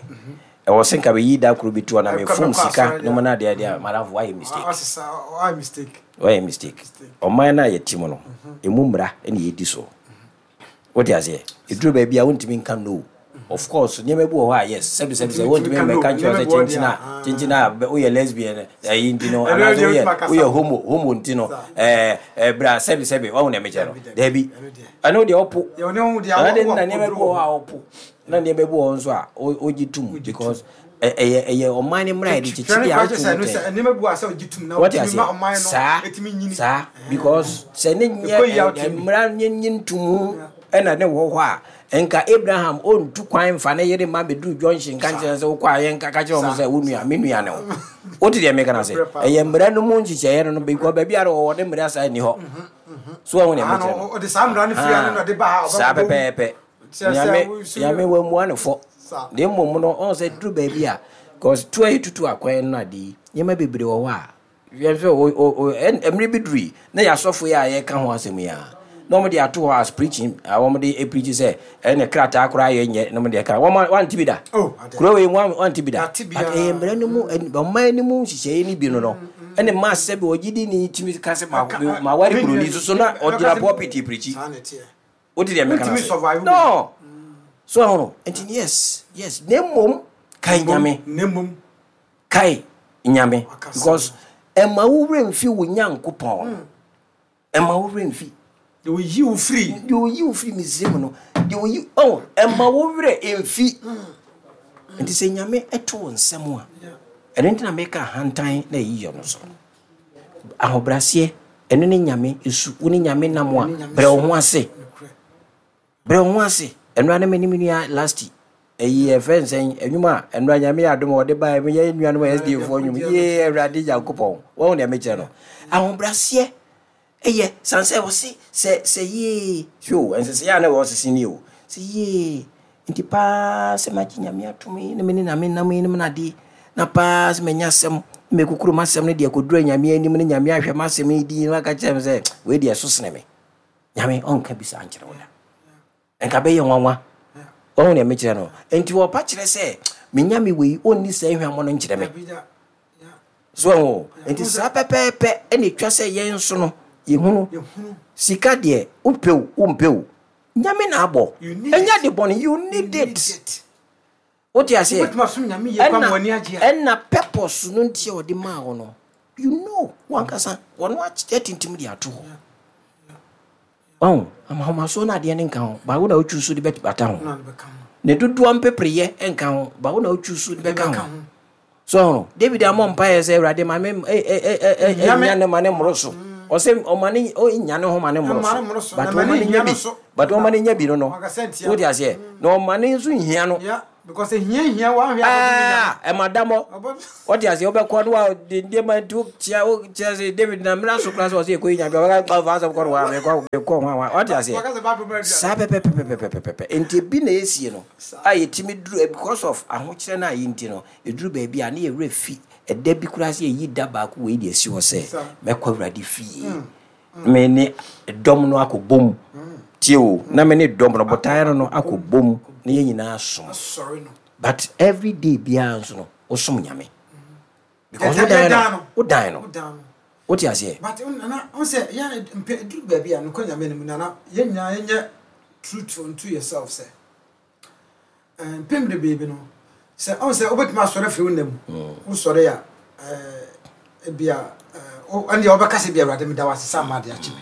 ɛwɔ sɛ nka bɛyi da koro bi to na mefom sika no mu no adeɛ adeɛ a madamfo woayɛ mistake woayɛ mistake ɔman no a yɛte mu no ɛmu mmara ɛne yɛdi so wote aseɛ ɛduru baabi a wontumi nka no of course nneɛma bi wɔ hɔ a yes sɛbi sɛbi sɛ wontumi mmɛka nkyerɛ sɛ kyenkyen a kyenkyen a woyɛ lesbian ɛyi nti no anaasɛ woyɛ woyɛ homo homo nti no ɛɛ ɛɛ bra sɛbi sɛbi wahu nea mekyerɛ no daabi ɛno deɛ ɔpo ɛno deɛ na nneɛma bi wɔ hɔ a ɔpo na nneɛma bi wɔ hɔ nso a ɔgye tum because ɛyɛ ɛyɛ ɔman ne mmara yɛde kyekyere a wotu mu tɛn wɔte aseɛ saa saa because sɛ ne nyɛ mmara nye nye ntumu ɛna ne wɔ hɔ a nka Abraham ɔntu kwan mfa ne yere ma bɛduru junction nka nkyerɛ sɛ wokɔ a yɛnka ka kyerɛ wɔn sɛ wo nua me nua ne wo wote deɛ meka no ase ɛyɛ mmara no mu nhyehyɛeɛ no no because baabi a wɔwɔ ne mmara saa nni hɔ so wɔn deɛ mekyerɛ no saa pɛpɛɛpɛ Nyame Nyame wammua no fɔ na mmom no ɔn sɛ duru baabi a cause tu a yɛtutu akwan no ade yi nneɛma bebree wɔ hɔ a yɛhwɛ o o mmere bi duru yi na yɛasɔfo yi a yɛka ho asɛm yi a na wɔn de ato hɔ as preaching a wɔn de preach sɛ ɛne krataa koraa yɛ nyɛ na wɔn de ka wɔn wante bi da oh, kuro wei wɔn wante bi da but ɛyɛ mmerɛ no mu ɔman no mu nhyehyɛeɛ no bi no no ɛne maa sɛ bi ɔgye di ne tumi ka sɛ ma ma wari buroni soso na ɔgyina pulpit preachi. Wote deɛ meka no ase? No! So ɛho no? Nti yes, yes. Na mmom, kae Nyame. Na mmom. Kae Nyame. Because ɛma wo werɛ mfi wo Nyankopɔn. Hmm. Ɛma wo werɛ mfi. Deɛ oyi wo firi. Deɛ oyi wo firi Misraim no. Deɛ oyi, oh, ɛma wo werɛ mfi. Hmm. Nti sɛ Nyame ɛto wo nsɛm a, ɛno nti na meka ahantan na ɛyi yɔ no so. Ahobrɛaseɛ, ɛno ne Nyame su. Wo ne Nyame nam a, brɛ wo ho ase. Brɛ wo ho ase. Ɛnora ne me ne me nua Lasti. Ɛyi ɛfɛ nsɛn ɛnwom a ɛnora Nyame yɛ adom a ɔde baeɛ me yɛ nuanom S D A foɔ nwom yee Awurade Nyankopɔn. Wɔn deɛ mekyerɛ no. Ahobrɛaseɛ ɛyɛ san sɛ ɔse sɛ sɛ yee hwɛ o ɛnsesɛ a na ɛwɔ sese ni o sɛ yee nti paa sɛ magye Nyame atom yi na me ne Nyame nam yi ne menade na paa sɛ manya asɛm na mekukuru m'asɛm no deɛ kɔduru Nyame anim ne Nyame ahwɛ m'asɛm yi din na aka kyerɛ me sɛ wei deɛ ɛso sene me. Nyame ɔnka bi saa nkyerɛ wo da. Nka bɛyɛ nwanwa. Wahu deɛ mekyerɛ no? Nti wɔpa kyerɛ sɛ me Nyame wei ɔnni saa hwammɔ no nkyerɛ me. So wahu? Nti saa pɛpɛɛpɛ ɛna ɛtwa sɛ yɛn nso no yɛhunu sika deɛ wopɛ o wompɛ o Nyame na abɔ. Ɛnyɛ ade bɔne, you need it. Wote aseɛ? Ɛna ɛna purpose no nti a ɔde maa wo no, You know, wankasa wɔn atintim de ato hɔ. Ɔn, ahomasoɔ no adeɛ no nka ho, ba wo na wotwi so de bɛbata ho. Ne dodoɔ mpepereyɛ nka ho, ba wo na wotwi so de bɛka ho. So David amɔ mpaeɛ sɛ Awurade ma me nya ne ma ne mmoro so. Ɔsɛ ɔma ne nya ne ho ma ne mmoro so. But ɔma ne nya bi. But ɔma ne nya bi no no. Wote aseɛ? Na ɔma ne nso nhia no. Because ehia hia wa hwɛ ah ɛma damɔ. Wote aseɛ? Wobɛkɔ no wa de nneɛma nti wokyia wokyia sɛ David na mmra so koraa sɛ ɔsɛ yɛkɔ yi nyame ɔbɛka ɔfa asɛm kɔ no wa mekɔ mekɔ ho awa. Wote aseɛ? Saa pɛpɛpɛpɛpɛpɛpɛ. Nti ebi na esie no a yɛtumi duru because of ahokyerɛ no a yɛ nti no ɛduru baabi a ne yɛwerɛ fi ɛda bi koraa sɛ yɛyi da baako wei de asi hɔ sɛ mɛkɔ Awurade fie. Me ne dɔm no akɔ bom. Tie o, na me ne dɔm no botaeɛ no no akɔ bom na yɛn nyinaa som. But every day biara nso no wosom Nyame. Because wodan no, wodan no. Wote aseɛ? But nana, wo sɛ yɛn mpɛ duru baabi a nokɔ Nyame no mu nana, yɛn nyinaa yɛnyɛ truth unto yourself sɛ mpem de baabi no sɛ ɔn sɛ wobɛtumi asɔre afiri wo nna mu wosɔre a ebia ɛndeɛ wobɛka sɛ bi Awurade meda wo ase sɛ ama ade akye me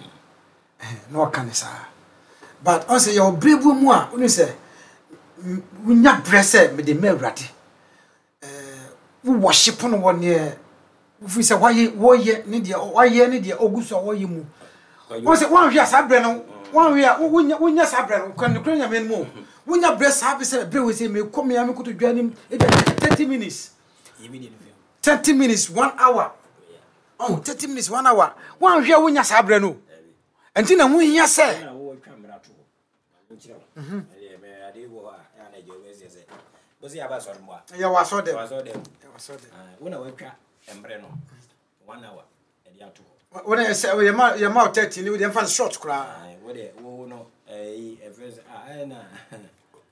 na ɔka ne saa. But ɔn sɛ yɛwɔ berɛ bi mu a wonu sɛ wonya berɛ sɛ mede ma Awurade wo worship no wɔ neɛ wofiri sɛ wayɛ wɔyɛ ne deɛ wayɛ ne deɛ ɔgu so a wɔyɛ mu. Ɔn sɛ woanhwɛ a saa berɛ no woanhwɛ a wonya wonya saa berɛ no kwan nokora Nyame no mu wonya berɛ saa bi sɛ berɛ wei sɛ mekɔ me a mekɔtɔ dwa anim ebia thirty minutes thirty minutes one hour oh thirty minutes one hour woanhwɛ a wonya saa berɛ no ɛnti na ho hia sɛ yɛwɔ asɔ dɛm wone sɛ yɛma yɛma wo thirty ne wode mfa short koraa wode wo no ɛyi ɛfrɛ sɛ ah ɛna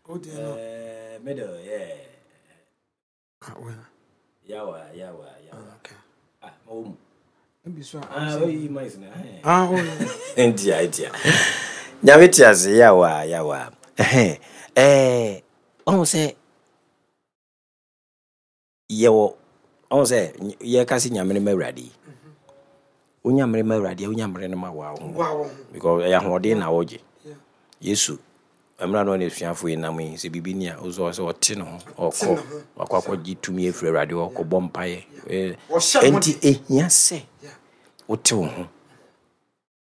wode no middle yeah yawa yawa yawa ah ma wo mu ah oyi mais na ah oh ntia ntia Nyame te ase yawa yawa eh eh ɔhu sɛ yɛwɔ ɔhu sɛ yɛka sɛ Nyame no ma Awurade yi wonya mmere ma Awurade a wonya mmere no ma wo ho because ɛyɛ ahoɔden na wogye. Yesu mmerɛ no ɔne asuafoɔ yi nam yi sɛ biribi ni a ɔsɛ sɛ ɔte ne ho ɔkɔ wakɔ akɔgye tumi afiri Awurade hɔ ɔkɔbɔ mpaeɛ. Enti ehia sɛ wote wo ho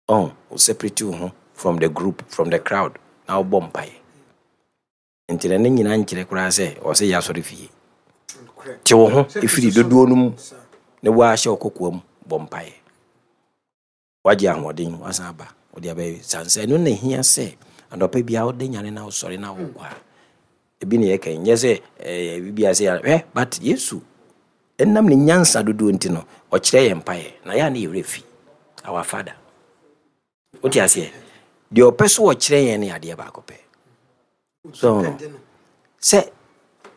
ɔn wo separate wo ho from the group, from the crowd na wobɔ mpaeɛ. Nti na ne nyinaa nkyerɛ koraa sɛ ɔsɛ yɛ asɔre fie. Te wo ho ɛfiri dodoɔ no mu na woahyɛ wo kokoa mu bɔ mpaeɛ. Wagye ahoɔden wasan aba wode abɛyɛ sansa. Ɛno na ehia sɛ anɔpa biara wode nyane na wosɔre na wokɔ a ebi ne yɛka nyɛ sɛ ɛɛ biribi ase hwɛ but Yesu ɛnam ne nyansa dodoɔ nti no ɔkyerɛ yɛn mpaeɛ na yɛ a ne yɛwerɛ fi our father. Wote aseɛ? Deɛ ɔpɛ so ɔkyerɛ yɛn ne adeɛ baako pɛ. So no sɛ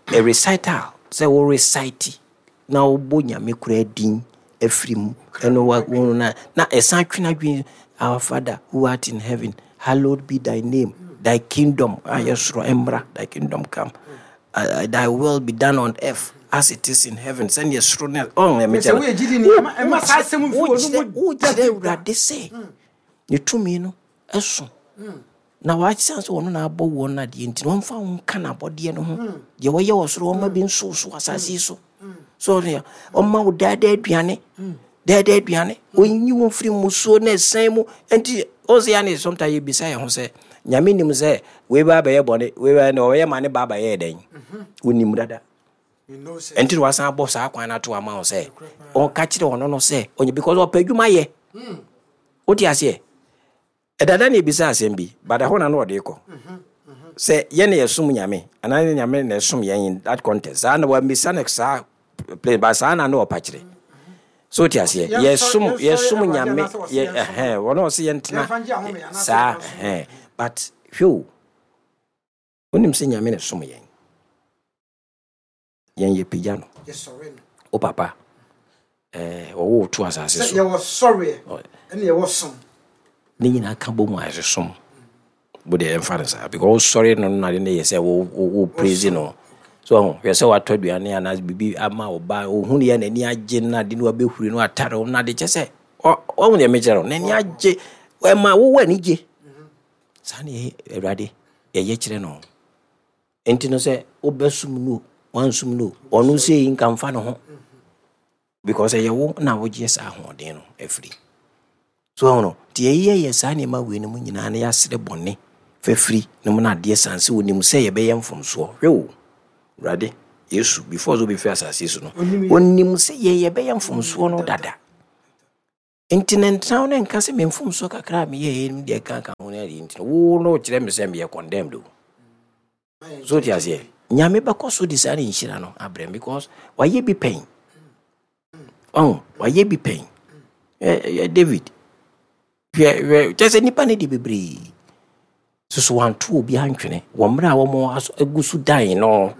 a recital sɛ wo recite na wobɔ Nyame koraa din afiri mu ɛno wa wo na na ɛsan twe n'adwene our father who art in heaven hallowed be thy name thy kingdom a yɛ soro mmra thy kingdom come uh, thy will be done on earth as it is in heaven sɛnea soro ne ɔn ɛmɛ sɛ woyɛ gyidi ni ɛma saa asɛm mfi wɔ no mu wokyerɛ Awurade sɛ ne tumi no ɛso na wakyerɛ sɛ ɔno na abɔ wɔn adeɛ nti na ɔmfa wo nka n'abɔdeɛ no ho deɛ wɔyɛ wɔ soro ɔma bi nso so asase yi so so ɔno ɔma wo daadaa aduane daadaa aduane ɔnyi wo mfiri mmusuo na ɛsɛn mu nti ɔsɛ ya ne sometimes yɛbisa yɛn ho sɛ Nyame nim sɛ wei ba bɛyɛ bɔne wei ba na ɔyɛ ma ne ba bɛyɛ dɛn wonim dada nti na wasan abɔ saa kwan no ato ama wo sɛ ɔka kyerɛ ɔno no sɛ ɔnyɛ because ɔpɛ adwuma yɛ wote aseɛ ɛdada ne ebisa asɛm bi bada hɔ na na ɔde kɔ sɛ yɛn na yɛsom Nyame anaa ne Nyame na ɛsom yɛn in that context saa na wamisa no saa place ba saa na na ɔpa kyerɛ so wote aseɛ yɛsom yɛsom Nyame yɛ ɛhɛn wɔn a ɔsɛ yɛntena saa ɛhɛn but hwɛ o wonim sɛ Nyame na ɛsom yɛn yɛn yɛ pagya no wo papa ɛɛ wɔwɔ wo to asase so yɛwɔ sɔreɛ ɛne yɛwɔ som ne nyinaa ka bɔ mu a ɛsɛ som wo deɛ yɛmfa no saa because wosɔre no no ade ne yɛ sɛ wo wo wo praise no So ɔho, hwɛ sɛ watɔ aduane anaa biribi ama wo ba, ohun yɛ n'ani agye no ade no wabɛhuri no atare wo no ade kyɛ sɛ ɔhu deɛ mekyerɛ no, n'ani agye, ɛma wowɔ ani gye. Saa ne yɛyɛ Awurade, yɛyɛ kyerɛ no. Enti no sɛ wobɛsom no, wansum no, ɔno sei nka mfa ne ho. Because ɛyɛ wo na wogye saa ahoɔden no afiri. So ɔho no, nti yɛyɛ yɛ saa nneɛma wei no mu nyinaa na yɛasrɛ bɔne fafiri no mu no adeɛ san sɛ onim sɛ yɛbɛyɛ mfomsoɔ. Hwɛ o, Awurade, Yesu, before sɛ obɛfiri asase so no, onim sɛ yɛ yɛbɛyɛ mfomsoɔ no dada. Nti ne ntena wo ne nka sɛ me mfomsoɔ kakra a meyɛɛ no deɛ ka ka ho no adeɛ nti no, wo no kyerɛ me sɛ meyɛ condemned o. So te aseɛ, Nyame bɛkɔ so de saa ne nhyira no abrɛ because wayɛ bi pɛn. Ɔho, wayɛ bi pɛn. Ɛ David, hwɛ hwɛ kyɛ sɛ nipa no de bebree. Soso wanto obi antwene wɔ mmerɛ a wɔn agu so dan no.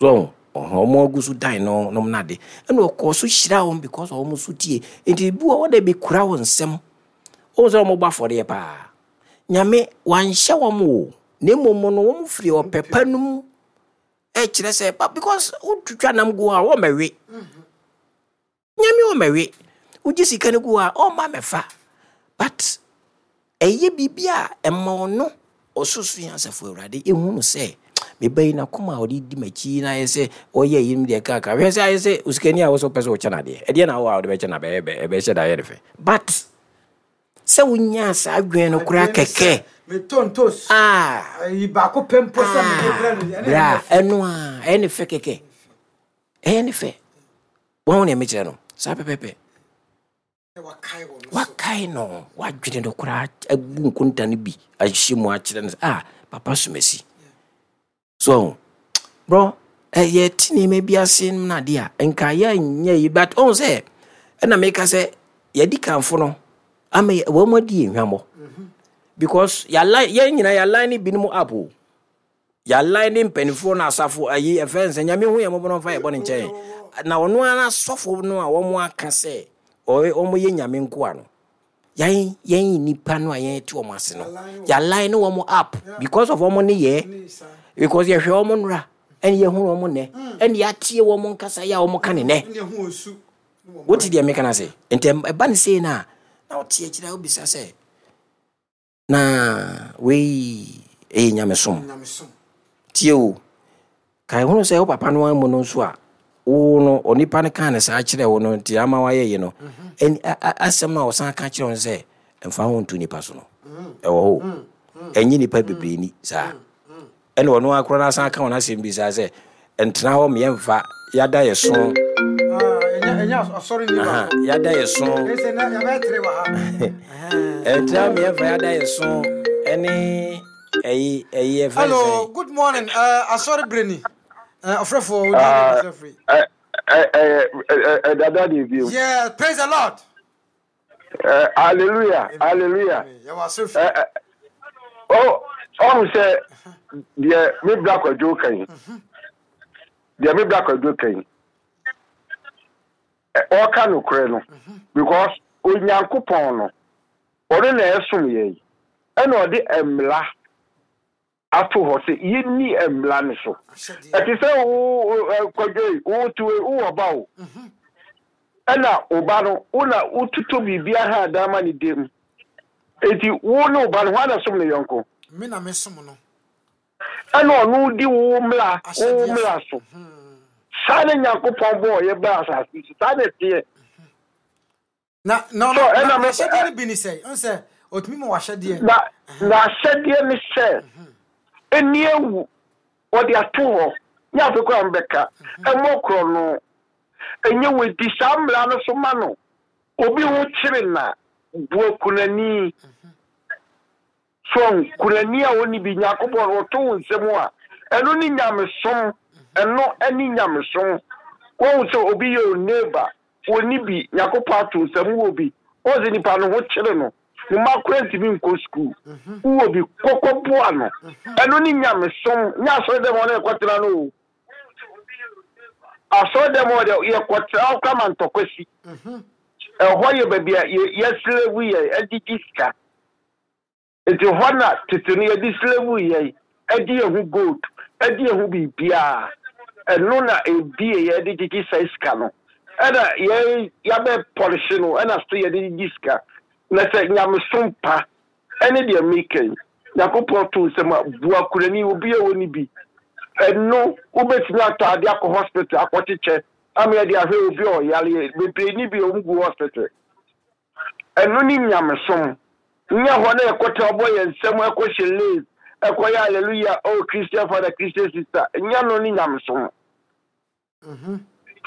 So ɔho, wɔn agu so dan no nom nade. Ɛna ɔkɔɔ so hyira wɔn because wɔn so tie. Nti bi wɔ hɔ dɛ bi kura wɔn nsam. Wɔn sɛ wɔn bɔ afɔdeɛ paa. Nyame wanhyɛ wɔn o. Na mmom no wɔn firi ɔpɛ pa no mu ɛkyerɛ sɛ ba because wotwitwa nam gu a wɔn mɛwe. Nyame wɔn mɛwe. Wogye sika no gu a ɔmma mɛfa. But ɛyɛ biribi a ɛma ɔno ɔsoso yɛn asafo Awurade ehu no sɛ meba yi n'akoma a ɔde di m'akyi na ayɛ sɛ ɔyɛ yi deɛ kaka. Hwɛ sɛ ayɛ sɛ osikani a wɔsɔ pɛ sɛ ɔkyɛ n'adeɛ. Ɛdeɛ na awɔ a ɔde bɛkyɛ na bɛyɛ ɛbɛhyɛ da ayɛ ne fɛ. But sɛ wonya saa adwene no koraa kɛkɛ. Metɔ ntos. Ah. Ayi baako pɛ mpo sɛ mede brɛ no. Bra, ɛno a ɛyɛ ne fɛ kɛkɛ. Ɛyɛ ne fɛ. Wɔn na ɛmekyerɛ no. Saa pɛpɛpɛ. Wakae no, wadwene no koraa abu nkonta no bi ahyɛ mu akyerɛ no sɛ ah papa somasi. So bro, ɛyɛ ti nneɛma bi ase no ade a nka yɛnyɛ yi but ɔn sɛ ɛna meka sɛ yɛdi kanfo no ama wɔn mu adi ehwamɔ because yɛalign yɛn nyinaa yɛalign ne binom up o. Yɛalign ne mpanimfoɔ no asafo ayi ɛfɛ nsɛ Nyame hu yɛn mmɔbɔ no mfa yɛ bɔ ne nkyɛn na ɔno ara asɔfo no a wɔn aka sɛ wɔn yɛ Nyame nkoa no yɛn yɛn nipa no a yɛn te wɔn ase no yɛalign ne wɔn up because of wɔn ne yɛ because yɛhwɛ wɔn nora ɛne yɛhu wɔn nnɛ ɛne yɛatie wɔn nkasa yɛ a wɔn ka ne nnɛ. Wote deɛ meka no ase nti ɛba ne sei no a na wote akyire a wobisa sɛ na wei ɛyɛ nyamesom. Tie o, ka ehunu sɛ wo papa no amu no nso a wo no onipa no kaa ne saa kyerɛ wo no nti ama wayɛ yi no asɛm a ɔsan ka kyerɛ wo sɛ mfa ho nto nipa so no ɛwɔ hɔ ɛnyɛ nipa bebree ni saa ɛna ɔno akora no asan ka wɔn asɛm bi saa sɛ ntena hɔ mmiɛnfa yada yɛ so yada yɛ so ntena mmiɛnfa yada yɛ so ɛne ɛyi ɛyi ɛfɛ sɛ. Hello, good morning. Asɔre breni. Ɔfrɛfo odi ɛfrɛ free. Ɛ ɛ ɛ dada de bi. Yeah, praise the Lord. Uh, hallelujah, hallelujah. Oh, ɔhu sɛ deɛ me bra kwadwo kan. Deɛ me bra kwadwo kan. Ɔka nokorɛ no because Onyankopɔn no ɔno na ɛsom yɛn ɛna ɔde mmla ato hɔ sɛ yɛnni mmla no so. Ɛte sɛ wo kwadwo yi wo te wowɔ ba o. Ɛna wo ba no wo na wototo biribi aha dan ma ne dem. Enti wo ne wo ba no hwan na som ne yɔnko? Me na me som no. Ɛna ɔno di wo mmla wo mmla so. Saa ne Nyankopɔn bɔɔ yɛ baa asase so. Saa na ɛteɛ. Na na na ahyɛdeɛ no bi ne sɛ ɔn sɛ ɔtumi ma wahyɛdeɛ. Na na ahyɛdeɛ ne sɛ ɛni ewu wɔde ato hɔ nyɛ afei koraa mbɛka ɛmmɔ korɔ no ɛnyɛ wɔdi saa mmara no so ma no obi ho kyere na bua kunani so kunani a ɔni bi Nyankopɔn ɔto wo nsɛm a ɛno ne nyamesom ɛno ɛne nyamesom wɔn sɛ obi yɛ o neighbor wɔni bi Nyankopɔn ato nsɛm wɔ bi wɔn sɛ nipa no ho kyere no ne mma kora ntumi nkɔ sukuu wɔ bi kɔkɔ boa no ɛno ne nyamesom nyɛ asɔre dɛm ɔno yɛkɔtena no o asɔre dɛm ɔde yɛkɔtena ɔkora ma ntɔkwasi ɛhɔ yɛ baabi a yɛ slave yɛ ɛgyegye sika nti hɔ na tete no yɛde slave yɛ ɛde yɛn ho gold ɛde yɛn ho biribiara Ɛno na ebie yɛde gyegye saa sika no. Ɛna yɛ yɛabɛ pɔlihye no, ɛna so yɛde gyegye sika. Na sɛ nyamesom pa ɛne deɛ meka yi, Nyankopɔn to nsɛm a bua kurani obi a ɔni bi. Ɛno wobɛtumi atɔ ade akɔ hospital akɔkyekyɛ ama yɛde ahwɛ obi a ɔyare bebree ni bi a ɔmu gu hospital. Ɛno ne nyamesom. Nyɛ hɔ na yɛkɔtena bɔ yɛn nsɛm ɛkɔhyɛ lace ɛkɔyɛ hallelujah, oh Christian father, Christian sister. Nyɛ no ne nyamesom.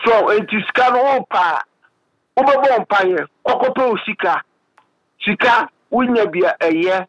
So nti sika no wopa a wobɛbɔ mpayɛ kɔkɔpɛ wo sika. Sika wonya bi a ɛyɛ